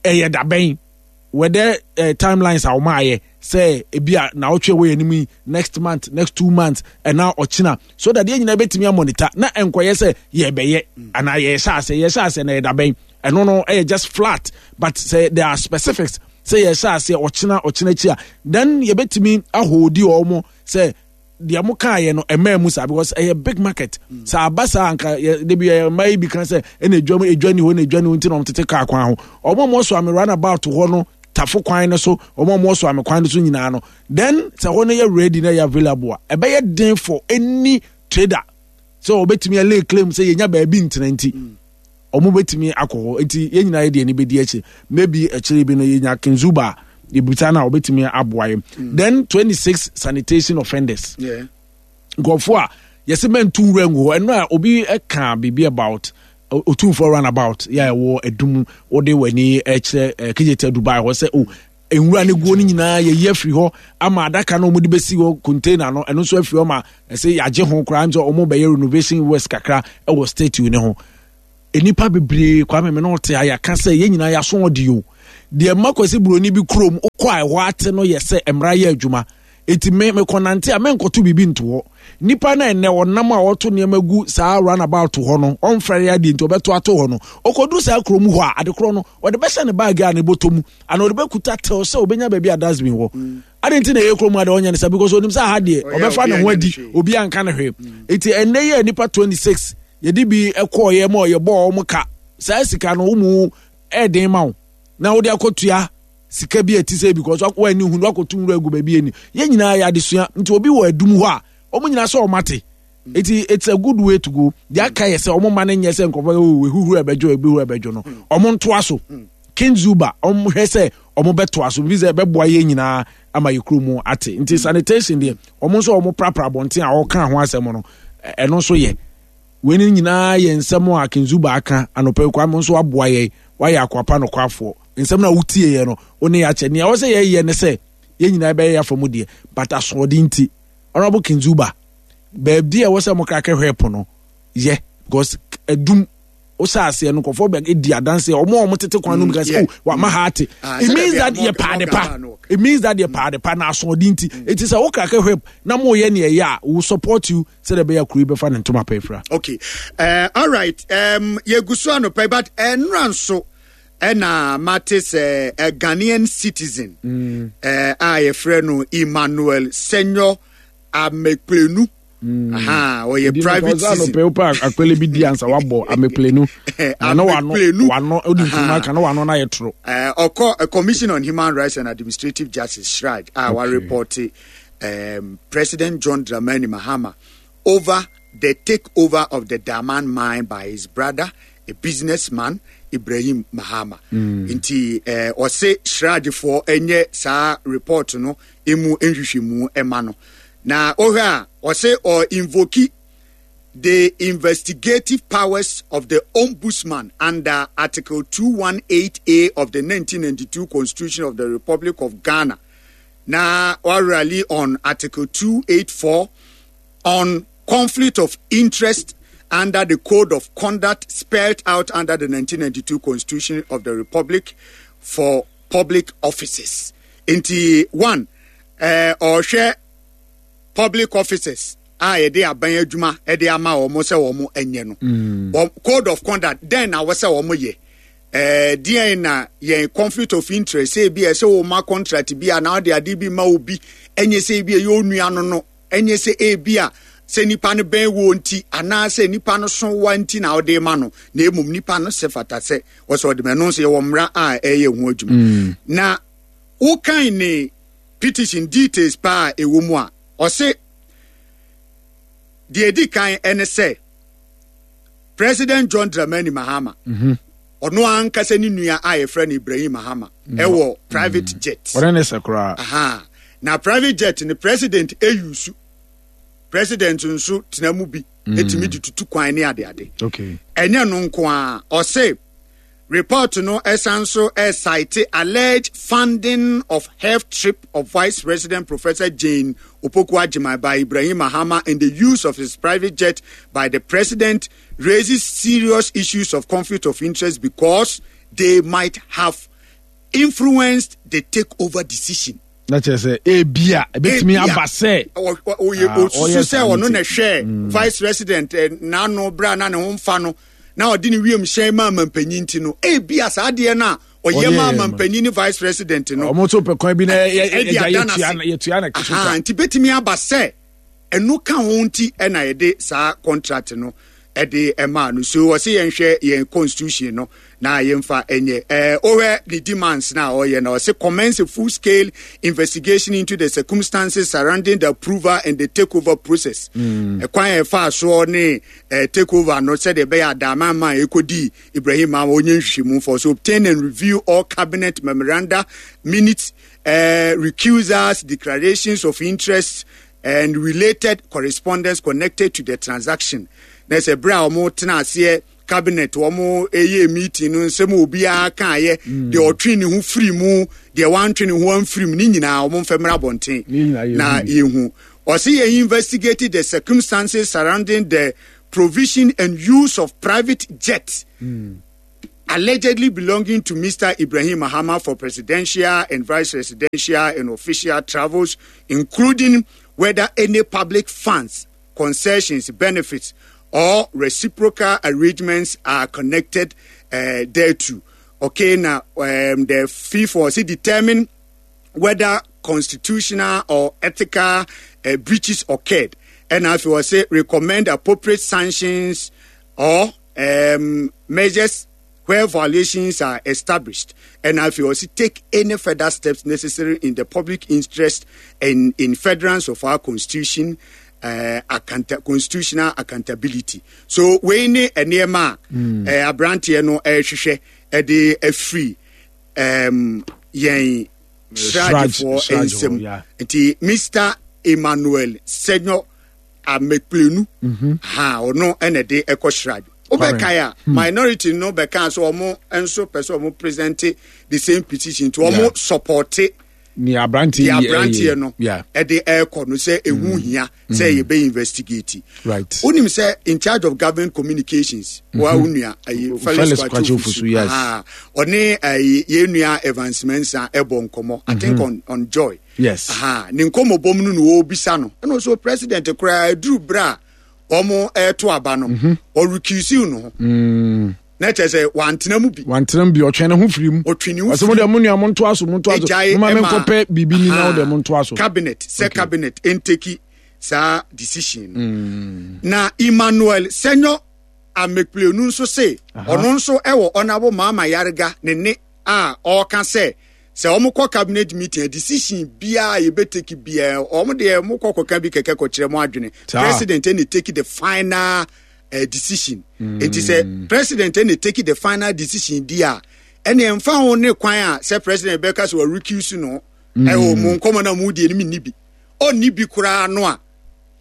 ɛyɛ dabɛn were timelines a wɔn ayɛ sɛ ebi a na ɔtwe wɔ yɛn anim yi next month, next 2 months ɛna ɔkyena so that yɛn nyinaa bɛtumi amonitor na nkɔyɛ sɛ yɛbɛyɛ anaa yɛhyɛ ase yɛhyɛ ase na yɛda bɛn ɛno no ɛyɛ just flat but sɛ there are specifics sɛ yɛhyɛ ase ɔkyena ɔkyena akyi a then yɛbɛtumi ahold wɔn sɛ deɛ mo kaa yɛ no ɛmɛɛ mu saa because ɛyɛ big market sɛ aba saa anka yɛ debi yɛ mmaa yi bi kan sɛ ɛna edwa mu edwa ni hɔ na edwa ni hɔ nti na wɔn tete kaa kwan ho wɔn a wɔn so ame roundabout hɔ no tafo kwan no so wɔn a wɔn so ame kwan no so nyinaa no then sɛ hɔ no yɛ ready na yɛ available a ɛbɛyɛ den for any trader sɛ wɔbɛtumi lay claim sɛ yɛnya baabi ntena nti. Wɔn bɛtumi akɔ hɔ nti yɛn nyinaa yɛ deɛ ani bɛdi akyire maybe akyire bi no yɛnya Kinzuba a yɛbisa no a wɔbɛtumi aboa yɛn then 26 sanitation offenders nkurɔfoɔ a yɛsɛ mɛntu nwura ngu hɔ ɛno a obi ka biribi about Otumfoɔ runabout yɛ a ɛwɔ Adum wode w'ani kyerɛ Kejeta Dubai hɔ sɛ o. Nwura no guo no nyinaa yɛyi afiri hɔ ama adaka no wɔde bɛsi hɔ container no ɛno nso afiri hɔ ma ɛsɛ yɛagye ho koraa nso wɔn bɛyɛ renovation works kakra ɛwɔ statue ne ho. Nnipa bebree Kwame me ne ɔte a yɛaka sɛ yɛn nyinaa yɛaso ɔde o. Deɛ mma Kwasi Buroni bi kurom wokɔ a ɛhɔ ate no yɛ sɛ mmara yɛ adwuma. Eti me mekɔnante a menkɔto biribi nto hɔ. Nipa no a ɛnnɛ ɔnam a ɔto nneɛma gu saa runabout hɔ no, ɔmfɛre adeɛ nti ɔbɛto ato hɔ no, ɔkɔduru saa kurom hɔ a, adekorɔ no, ɔde bɛhyɛ ne baage a ne bɔtɔ mu, anaa ɔde bɛkuta till sɛ ɔbɛnya baabi a dustbin wɔ. Mm. Ade nti na ɛyɛ kurom adeɛ ɔnyɛ ne sa because onim sɛ aha deɛ ɔbɛfa ne ho adi, obi anka ne hwee. Eti ɛnnɛ yi a nipa 26 yɛde bi kɔɔyɛ ma yɛbɔɔ wɔn ka, saa sika no wo mu ɛɛden ma wo na wode akɔtua sika bi a ɛte sɛ because wɔani hu no wakɔto nwura agu baabi ani yɛn nyinaa yɛ adesua nti obi wɔ adum hɔ a wɔn nyinaa sɛ wɔn ate nti it's a good way to go deɛ aka yɛ sɛ wɔn mma no nyɛ sɛ nkurɔfoɔ oh ehuhuru ɛbɛdwo ehuhuru ɛbɛdwo no wɔn ntoa so King Zuba wɔn hwɛ sɛ wɔn bɛtoa so bi sɛ ɛbɛboa yɛn nyinaa ama yɛ kuro mu ate nti sanitation deɛ wɔn nso wɔn prapra abɔnten a wɔka ho asɛm no ɛno nso yɛ. Wei no nyinaa yɛ nsɛm a King Zuba aka anɔpa yi Kwame nso aboa yɛn wayɛ akoa pa nokwafoɔ nsɛm no a wotieɛ no wo ne yɛakyɛ nea ɛwɔ sɛ yɛyɛ ne sɛ yɛn nyinaa bɛyɛ yɛafa mu deɛ but asoɔden nti Honorable King Zuba baabi a ɛwɔ sɛ mo krake hwɛ po no yɛ because adum wohyɛ aseɛ no nkurɔfoɔ bɛ di adanseɛ wɔn a wɔn tete kwan no mu ka sɛ oh wama ha ate ah, it means that yɛ paade pa it means that yɛ paade pa na asoɔden nti mm. eti sɛ wo krake hwɛ na mo yɛ nea ɛyɛ a we support you sɛdeɛ ɛbɛyɛ kuro yi bɛfa ne ntoma pɛ fira. okay all right um, yɛgu so anɔpɛ but ɛnora eh, nso ɛna mate sɛ a Ghanaian citizen mm. uh, a yɛfrɛ no Emmanuel Senyo Amekplenu mm. aha ɔyɛ private citizen. ɔsɛ anɔpɛ wopɛ akpɛlɛ bi di ansa wabɔ ameplenu na wano wano odi nkuruma ka na wano na yɛ toro. ɔkɔ Commission on Human Rights and Administrative Justice CHRAJ a wa report um, President John Dramani Mahama over the takeover of the Daman mine by his brother, a businessman, Ibrahim Mahama. Mm. Nti eh, ɔse sradefoɔ ɛnyɛ saa report no emu nhwehwɛmu ɛma no. Na ɔhwɛ a ɔse ɔ invoke the investigative powers of the Ombudsman under Article 218A of the 1992 Constitution of the Republic of Ghana. Na rally on Article 284 on conflict of interest under the Code of Conduct spelled out under the 1992 Constitution of the Republic for public offices. Nti one, eh, ɔhwɛ public officers a yɛde aban adwuma de ama wɔn sɛ wɔn nyɛ no. Mm. Code of conduct dɛn na wɔsɛ wɔn yɛ. Eh, deɛn na yɛn conflict of interest sɛ ebi ɛsɛ wɔn ma contract bi a na ɔde ade bi ma obi ɛnyɛ sɛ ebi ɛyɛ onua no no ɛnyɛ sɛ ebi a sɛ nipa no bɛn wɔ nti anaasɛ nipa no so wa nti na ɔde ma no na emom nipa no sɛ fata sɛ wɔsɛ ɔde ma ɛno nso yɛwɔ mmara a ɛyɛ ho adwuma mm. na wokan ne petition details paa a ɛwɔ mu a ɔse deɛ ɛdi kan ɛne sɛ President John Dramani Mahama mhm. ɔno ankasa ne nua a yɛfrɛ no Ibrahim Mahama mm. ɛwɔ private mm. jet ɔne ne sɛ koraa na private jet ne president eyusu president nso tena mu bi mm. etumi de tutu kwan ne adeade ɛnyɛ no nko a ɔse Report no san nso cite alleged funding of health trip of Vice President Professor Jane Opoku Agyemang by Ibrahim Mahama and the use of his private jet by the president raises serious issues of conflict of interest because they might have influenced the takeover decision. na kyerɛ sɛ ebia ebetumi aba sɛ ɔyɛ ah, osusu sɛ ɔno na ɛhwɛ mm. vice president eh, n'ano bere a na ne ho mfa no na ɔde ne wiem hyɛn maa mampanyin ti no ebia saa adeɛ no a ɔyɛ maa mampanyin ne vice president no ɔmo nso pɛ kwan bi na yɛtua na kisuka nti betumi aba sɛ Ɛno ka ho nti na yɛde saa contract no de maa no. So wɔse yɛnhwɛ yɛn constitution no na yɛmfa nyɛ. Ɛɛ wohwɛ ne demands na ɔyɛ na ɔse commence a full scale investigation into the circumstances surrounding the approval and the takeover process. Mm. Ɛkwan a ɛfaa soɔ ne eh, takeover no sɛdeɛ ɛbɛyɛ adaaman ma ɛkɔdii Ibrahim ma ɔnyɛ nhwehwɛmu for so obtain and review all cabinet memoranda minutes uh, recusals declarations of interest and related correspondence connected to the transaction na sɛ berɛ a wɔn tena aseɛ cabinet wɔn ɛyɛ meeting no nsɛm obiara kaayɛ mm. deɛ ɔtwe ne ho firi mu deɛ wantwe ne ho amfiri mu ne nyinaa wɔn mfɛ mmra abɔnten na yɛhu ɔsi yɛn investigate the circumstances surrounding the provision and use of private jet. Mm. Allegedly belonging to Mr. Ibrahim Mahama for presidential and vice presidential and official travels, including whether any public funds, concessions, benefits, or reciprocal arrangements are connected uh, thereto. Okay, now um, the fee for determine whether constitutional or ethical uh, breaches occurred. And if you say recommend appropriate sanctions or um, measures where violations are established and if you also take any further steps necessary in the public interest and in furtherance of our constitution uh, account constitutional accountability so wei ne nneɛma a mm. eh, aberanteɛ no ɛrehwehwɛ ɛde afiri um, yɛn sragefoɔ nsam nti mr emmanuel senyo amekplenu mhm. ha ɔno ɛna ɛde ɛkɔ srage wobɛkae a hmm. minority no bɛka so ɔmo nso pɛ sɛ ɔmo present the same petition nti ɔmo supporte ni aberanteɛ yi aberanteɛ no ɛde ɛrekɔ no sɛ ehu hmm. hia sɛ hmm. yɛbɛ investigate right wonim sɛ in charge of government communications mm -hmm. wa wo nua ayi Felix Kwakye Ofosu yes ɔne ayi yɛn nua Evans Mensah ɛbɔ nkɔmɔ I think mm -hmm. on on joy yes aha ne nkɔmɔ bɔ mu no na ɔrebisa no ɛna ɔsɛ president koraa aduru berɛ a wɔn ɛreto aba no mhm. ɔrekisiw no ho mm. na kyerɛ sɛ wantena mu bi wantena mu bi ɔtwɛn ne ho firi mu ɔtwe ne ho firi mu ɔsɛ mo deɛ mo nua mo ntoa so mo ntoa so mo ma me nkɔpɛ biribi ni na mo deɛ mo ntoa so cabinet sɛ cabinet nteki saa decision no mm. na Emmanuel Senyo Amekplenu nso se ɔno nso ɛwɔ ɔnabo Maama Yarega ne ne a ɔreka sɛ sɛ wɔn kɔ cabinet meeting a decision biara a yɛbɛ take biara wɔn deɛ wɔn kɔ kɔka bi kɛkɛ kɔkyerɛ mo adwene president ɛna take the final uh, decision mm. nti sɛ president ɛna take the final decision di a ɛna ɛnfa ho ne kwan a sɛ president bɛka sɛ wɔrecuse no ɛwɔ mm. mo nkɔmɔ na mo die no mi ni bi ɔnni bi koraa no a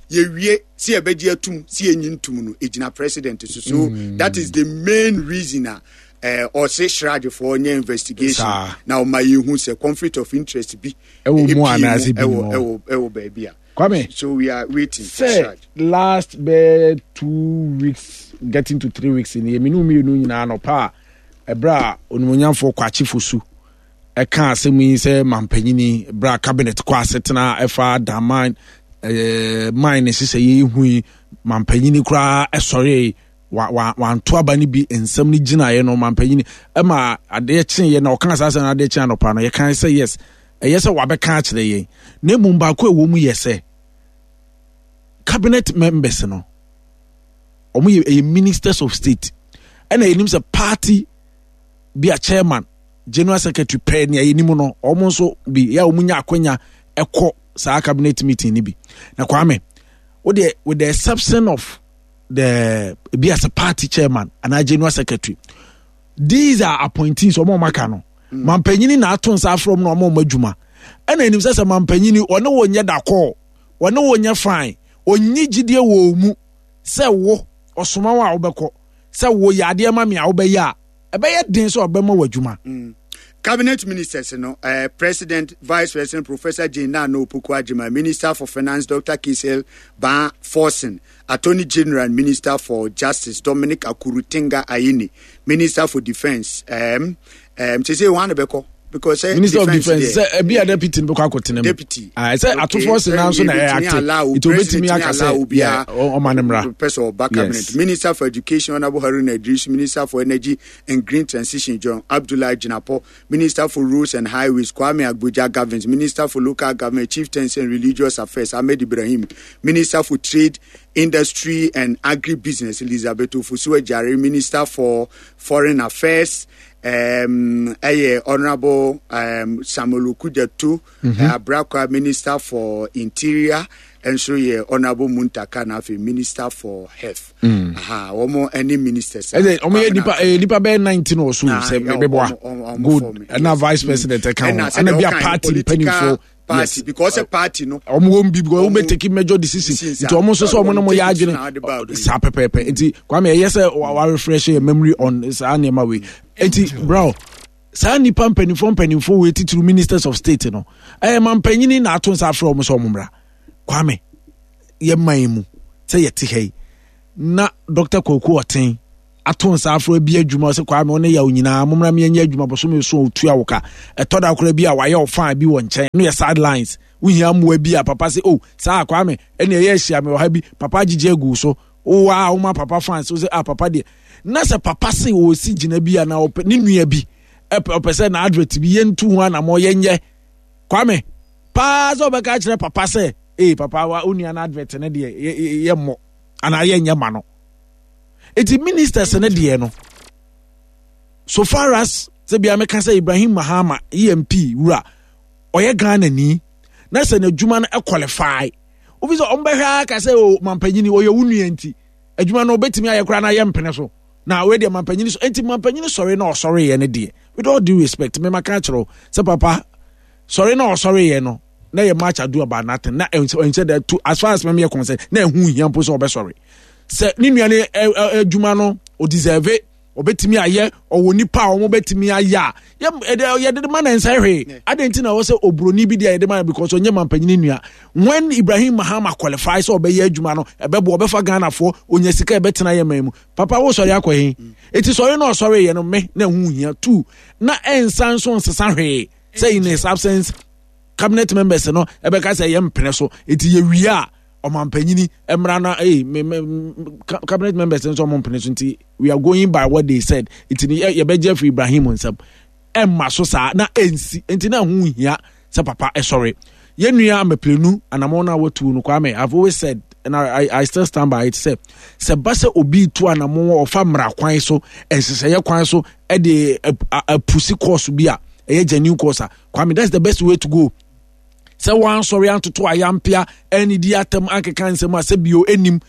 yɛwie sɛ yɛbɛgye atum sɛ yɛnyi ntum no ɛgyina president so so mm. that is the main reason a eh, ɔse sragefoɔ nyɛ investigation na ɔma yɛhu sɛ conflict of interest bi ɛwɔ mu anaasɛ bi ɛwɔ ɛwɔ baabi a Kwame so we are waiting for sɛ last bɛɛ 2 weeks getting to 3 weeks ni yɛmene mmienu nyinaa nɔpa a ɛberɛ a onimonyamfoɔ Kwakye Fosu ɛka asɛm yi sɛ mampanyini berɛ a cabinet kɔ asetena ɛfa daman ɛɛ mine ne hyehyɛ yɛ hu yi mampanyini koraa ɛsɔre wa wa wanto aba no bi nsɛm no gyinaeɛ no mampanyini ɛma adeɛ kyeeɛ na ɔka saa sɛ no adeɛ kye anɔpa no yɛka sɛ yes ɛyɛ sɛ wabɛka akyerɛ yɛn na mmom baako a ɛwɔ mu yɛ sɛ cabinet members no wɔn yɛ ɛyɛ ministers of state ɛna yɛnim sɛ party bi a chairman general secretary pɛɛ nea yɛnim no wɔn nso bi yɛ a wɔn nya akwanya ɛkɔ saa cabinet meeting no bi na Kwame wo deɛ with the exception of the ebi as a party chairman anaa general secretary these are appointees wɔn a wɔn aka no mm. mampanyini na ato nsa afrɛ wɔn na wɔn a wɔn adwuma ɛna anim sɛ sɛ mampanyini ɔne wɔn nyɛ dakɔɔ wɔne wɔn nyɛ fine ɔnyi gyidie wɔ mu sɛ wo ɔsoma wo a wobɛkɔ sɛ woyɛ adeɛ ma me a wobɛyɛ a ɛbɛyɛ den sɛ ɔbɛma wɔ adwuma. Mm. Cabinet ministers no, uh, President, Vice President Professor Jane Nano Opoku Minister for Finance Dr. Cassiel Baah Forson, Attorney General and Minister for Justice Dominic Akuritinga Ayine, Minister for Defense, um, um, sɛ wɔn bɛkɔ because uh, Minister of Defence sɛ ebi a deputy no bɛkɔ akɔtena mu deputy ah sɛ atofoɔ si nan so na ɛyɛ ate nti obetumi aka sɛ yɛ ɔma ne mmra pɛ sɛ ɔba cabinet Minister for Education Honourable Haruna Iddrisu Minister for Energy and Green Transition John Abdullah Jinapor Minister for Roads and Highways Kwame Agbodza Governs Minister for Local Government Chieftaincy and Religious Affairs Ahmed Ibrahim Minister for Trade Industry and Agribusiness Elizabeth Ofosu Adjare Minister for Foreign Affairs um, ɛyɛ Honourable um, Samuel Okudzeto mm -hmm. Abrakwa Minister for Interior nso yɛ Honourable Muntaka na afei Minister for Health. Mm. Aha, wɔn ne ministers. Ɛsɛ wɔn yɛ nipa ɛyɛ nipa bɛyɛ 19 or so sɛ mɛbɛboa good ɛna vice president ɛka ho ɛna bi a party mpanimfoɔ. Party because sɛ party no. Wɔn wɔn bi because wɔn bɛ take major decision nti wɔn nso sɛ wɔn no mo yɛ adwene saa pɛpɛɛpɛ. Nti Kwame, ɛyɛ sɛ wa refresh yɛ memory on saa nneɛma wei. Nti bro, saa nipa mpanimfoɔ mpanimfoɔ wei, titiri ministers of state no, ɛyɛ ma mpanyini na ato nsa afrɛ wɔn sɛ wɔn mmra. Kwame, yɛ man mu sɛ yɛte ha yi na Dr. Kwaku Ɔten ato nsa afrɛ bi adwuma sɛ Kwame, ɔne yaw nyinaa mommra meɛnyɛ adwuma bɔsome so, ɔtua wo ka. Ɛtɔ da koraa bi a wayɛ ɔfaa bi wɔ nkyɛn no yɛ sidelines, wohia mmoa bi a, papa sɛ, oh, saa Kwame, ɛne ɛyɛ ahyia me wɔ ha bi, papa agyegye agu so, wowɔ a woma papa fans wo sɛ, ah, papa deɛ. Na sɛ papa se ɔsi gyina bi a na ɔpɛ ne nua bi ɔpɛ sɛ na advert bi yɛntu ho anammɔ yɛnyɛ, Kwame, paa sɛ ɔbɛka kyerɛ papa sɛ, ee papa, wa wo nua no advert no deɛ yɛmmɔ anaa yɛnyɛ ma no. Eti ministers no deɛ no, so far as sɛ bia meka sɛ Ibrahim Mahama emp wura ɔyɛ Ghana ni na sɛ n'adwuma no qualify, wofi sɛ ɔmbɛhwɛ aka sɛ o mampanyini ɔyɛ wo nua nti adwuma no obɛtumi ayɛ koraa na ayɛ mpene so na wei deɛ mampanyini so. Enti mampanyini sɔre na ɔsɔreyɛ no deɛ, with all due respect, mema ka kyerɛ wo sɛ papa sɔre na ɔsɔreyɛ no na yɛ much ado about nothing, na ɛnhyɛ da to as far as mɛmeyɛ concern na ɛho hia mpo sɛ ɔbɛsɔre sɛ ne nua no adwuma no ɔdeserve, ɔbɛtumi ayɛ, ɔwɔ nipa a wɔn bɛtumi ayɛ a yɛde ma na nsa hwee. Adɛn nti na ɛwɔ sɛ oburoni bi deɛ yɛde ma? Because ɔnyɛ mampanyini nua. When Ibrahim Mahama qualify sɛ ɔbɛyɛ adwuma no, ɛbɛboa, ɔbɛfa Ghanafoɔ, onya sika, ɛbɛtena yɛ man mu. Papa, wo sɔre akɔ he? Eti sɔre na ɔsɔre yɛ no, me na ɛho hia two na ɛnsa nso nsesa hwee sɛ in his absence cabinet members no ɛbɛka sɛ yɛ mpene so. Eti yɛwie a, ɔmampanyini mmra na ee me me cabinet members nso ɔmo mpene so, nti we are going by what they said, nti yɛbɛgye afiri Ibrahim nsam. Ɛmma so saa na ɛnsi. Nti na ɛho hia sɛ papa ɛsɔre. Yɛn nua Amapilenu anamɔ no a watu no, Kwame, I have always said and I still stand by it sɛ sɛ ba sɛ obi tu anamɔ, ɔfa mmara kwan so, nhyehyɛeɛ kwan so, ɛde apusi course bi a ɛyɛ genuine course a, Kwame, that's the best way to go. Sɛ wansɔre antoto ayampea anidi atam ankeka nsɛm a sɛ bio anim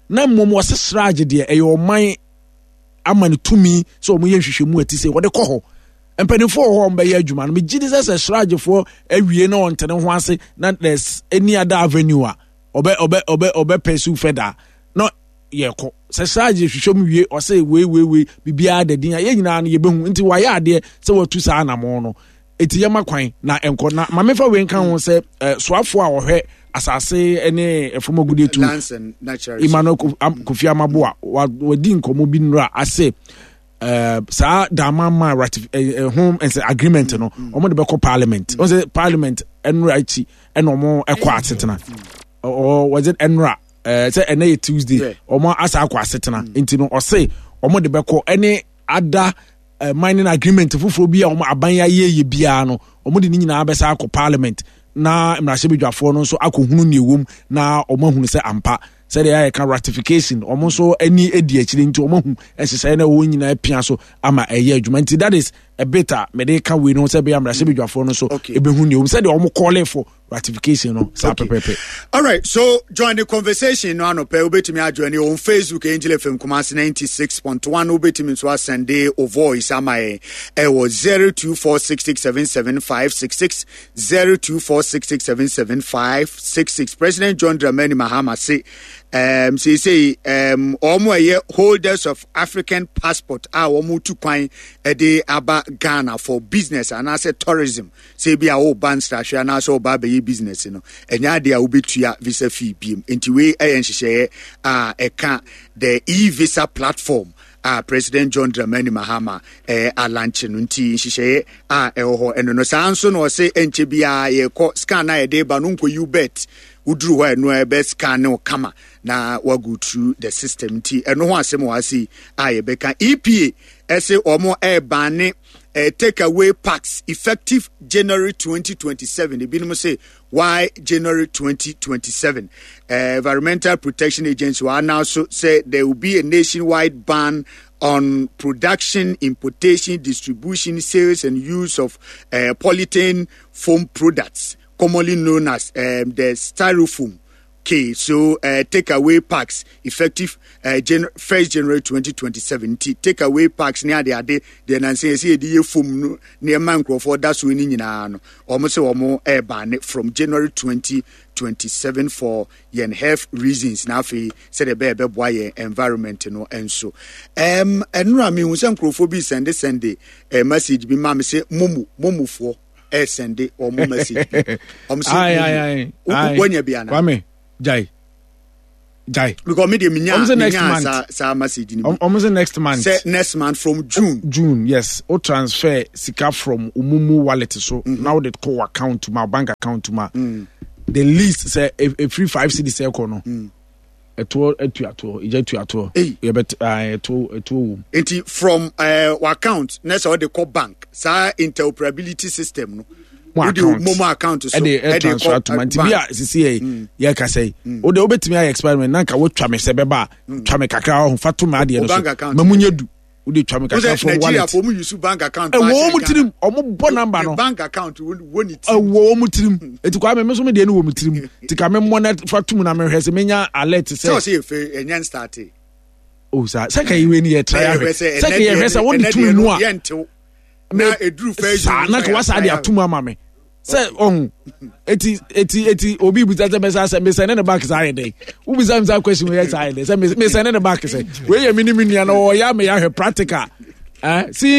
na mmom wɔse srage deɛ, ɛyɛ ɔman ama no tumi sɛ wɔyɛ nhwehwɛmu a ɛte sɛ wɔde kɔ hɔ. Mpanimfoɔ wɔ hɔ a wɔbɛyɛ adwuma no. Megye di sɛ sɛ sragefoɔ awie na ɔntene ho ase na there's any other avenue a ɔbɛ ɔbɛ ɔbɛ ɔbɛ pursue further na yɛkɔ sɛ srage hwehwɛ mu wie, ɔsɛ wei wei wei biribiara da din a yɛn nyinaa no yɛbɛhu. Nti wayɛ adeɛ sɛ watu saa anamɔn no. Eti yɛma kwan na nkɔ na maame fa wei nka ho sɛ soafoɔ a ɔhwɛ asase ne ɛfam agudeɛ tu, Emmanuel Kofi Amaboa, wadi nkɔmmɔ bi nnura ase saa Damang ratif ho nsɛ agreement no, wɔn de bɛkɔ parliament. Wɔn sɛ parliament nnura akyi ɛna wɔn ɛkɔ asetena ɔ wɔdze nnura sɛ ɛnɛ yɛ Tuesday, wɔn asa akɔ asetena. Nti no ɔse wɔn de bɛkɔ ɛne ada mining agreement foforɔ bi a wɔn aban ayɛ yɛ biara no, wɔn de ne nyinaa bɛsa akɔ parliament na mmarahyɛbadwafoɔ no nso akɔhunu nea ɛwɔ mu na wɔn ahunu sɛ ampa sɛdeɛ ayɛ ka ratification, wɔn nso ani adi akyire nti wɔn ahu nhyehyɛeɛ na ɛwɔ nyinaa pia so ama ɛyɛ adwuma. Nti that is a bit a mede ka wei no sɛ ɛbɛyɛ mmarahyɛbadwafoɔ no nso ɛbɛhu nea ɛwɔ mu sɛdeɛ wɔn calling for ratification no saa pɛpɛpɛ. All right, so join the conversation no anɔpɛ. Wobɛtumi ajoin on Facebook, Angel FM Kumasi 96.1. Wobɛtumi nso asɛnde o voice ama yɛn ɛwɔ 0246677566, 0246677566. President John Dramani Mahama se seesei wɔn a ɛyɛ holders of African passport a wɔn tu kwan de aba Ghana for business anaasɛ tourism, sɛ ebi a woreba nsrahwɛ anaasɛ woreba abɛyɛ business no, ɛnyɛ adeɛ a wobɛtua visa fee biem. Nti wei yɛ nhyehyɛeɛ a ɛka the e-visa platform a President John Dramani Mahama eh, alankye no. Nti nhyehyɛeɛ a ɛwɔ hɔ ɛno no. Saa nso na ɔse ɛnkyɛ biara yɛkɔ scan a yɛde ba no nkɔyi bet, woduru hɔ a ɛno ɛbɛ scan ne wo kama na wago through the system. Nti ɛno ho asɛm wɔ ase a yɛbɛka. EPA ɛse wɔn ɛrebane take away packs effective January 2027. Ebinom say why January 2027? Environmental Protection Agency will announce say there will be a nationwide ban on production, importation, distribution, sales, and use of polythene foam products, commonly known as the styrofoam. Okay, so take away packs effective 1st January 2027. Nti take away packs ne ade ade deɛ nansa yɛsɛ yɛde yɛ fom no nneɛma nkurɔfoɔ da so ne nyinaa no, wɔn sɛ wɔn ɛreba from January 2027 for yɛn health reasons na afei sɛdeɛ ɛbɛyɛ ɛbɛboa yɛn environment no nso. Ɛnora mehu sɛ nkurɔfoɔ bi sɛnde sɛnde message bi ma me sɛ momu momufoɔ ɛsɛnde wɔn message bi wɔn sɛ momu wɔnya bi ana. Kwame jai jai. Because me de minya minya saa saa message ni bi. Wɔn sɛ next month. Sɛ next month from June. June, yes, o transfer sika from omumu wallet so na o de kɔ account ma bank account ma. The least sɛ efiri 5 cedis ɛkɔ no. Ɛtoɔ atuatoɔ, egya tuatoɔ. Yɛbɛ ɛtoɔ ɛtoɔ wɔ mu. Nti from account na sɛ ɔde kɔ bank, saa interoperability system no, wode momo account so ɛde transfer to ma. Nti bi a sisi yɛ yɛ kasa yi, o de wobɛtumi ayɛ experiment na nka wotwa me sɛ bɛba a, twa me kakra ɔho fa to me adeɛ no so ma mu nyɛ du. Wode twa me kakra from wallet. Nigeria fo mu use bank account. Ɛwɔ wɔn tirim, ɔmo bɔ number no. Bank account wɔ ne tirim. Ɛwɔ wɔn tirim. Eti kwa mi nso mi deɛ no wɔ mi tirim. Ti ka mi mmɔ na fa tum na mi hwɛ sɛ mi nya alert sɛ. Sɛ ɔsɛ efe ɛnyɛ start. O sa sɛ ka iwe ni yɛ try ahwɛ sɛ ka yɛ hwɛ sɛ wɔde tum mu a. Na eduru fɛ saa na ka wasa de atum ama mi sɛ ɔho eti eti eti obi bisa sɛ mɛsa sɛ mesɛ ne ne back saa yɛ dɛ wobisa mi saa question wei yɛ saa yɛ dɛ sɛ mesɛ ne ne back sɛ wei yɛ mi ni mi nua na ɔyɛ ama yɛ ahwɛ practical. Eh, see.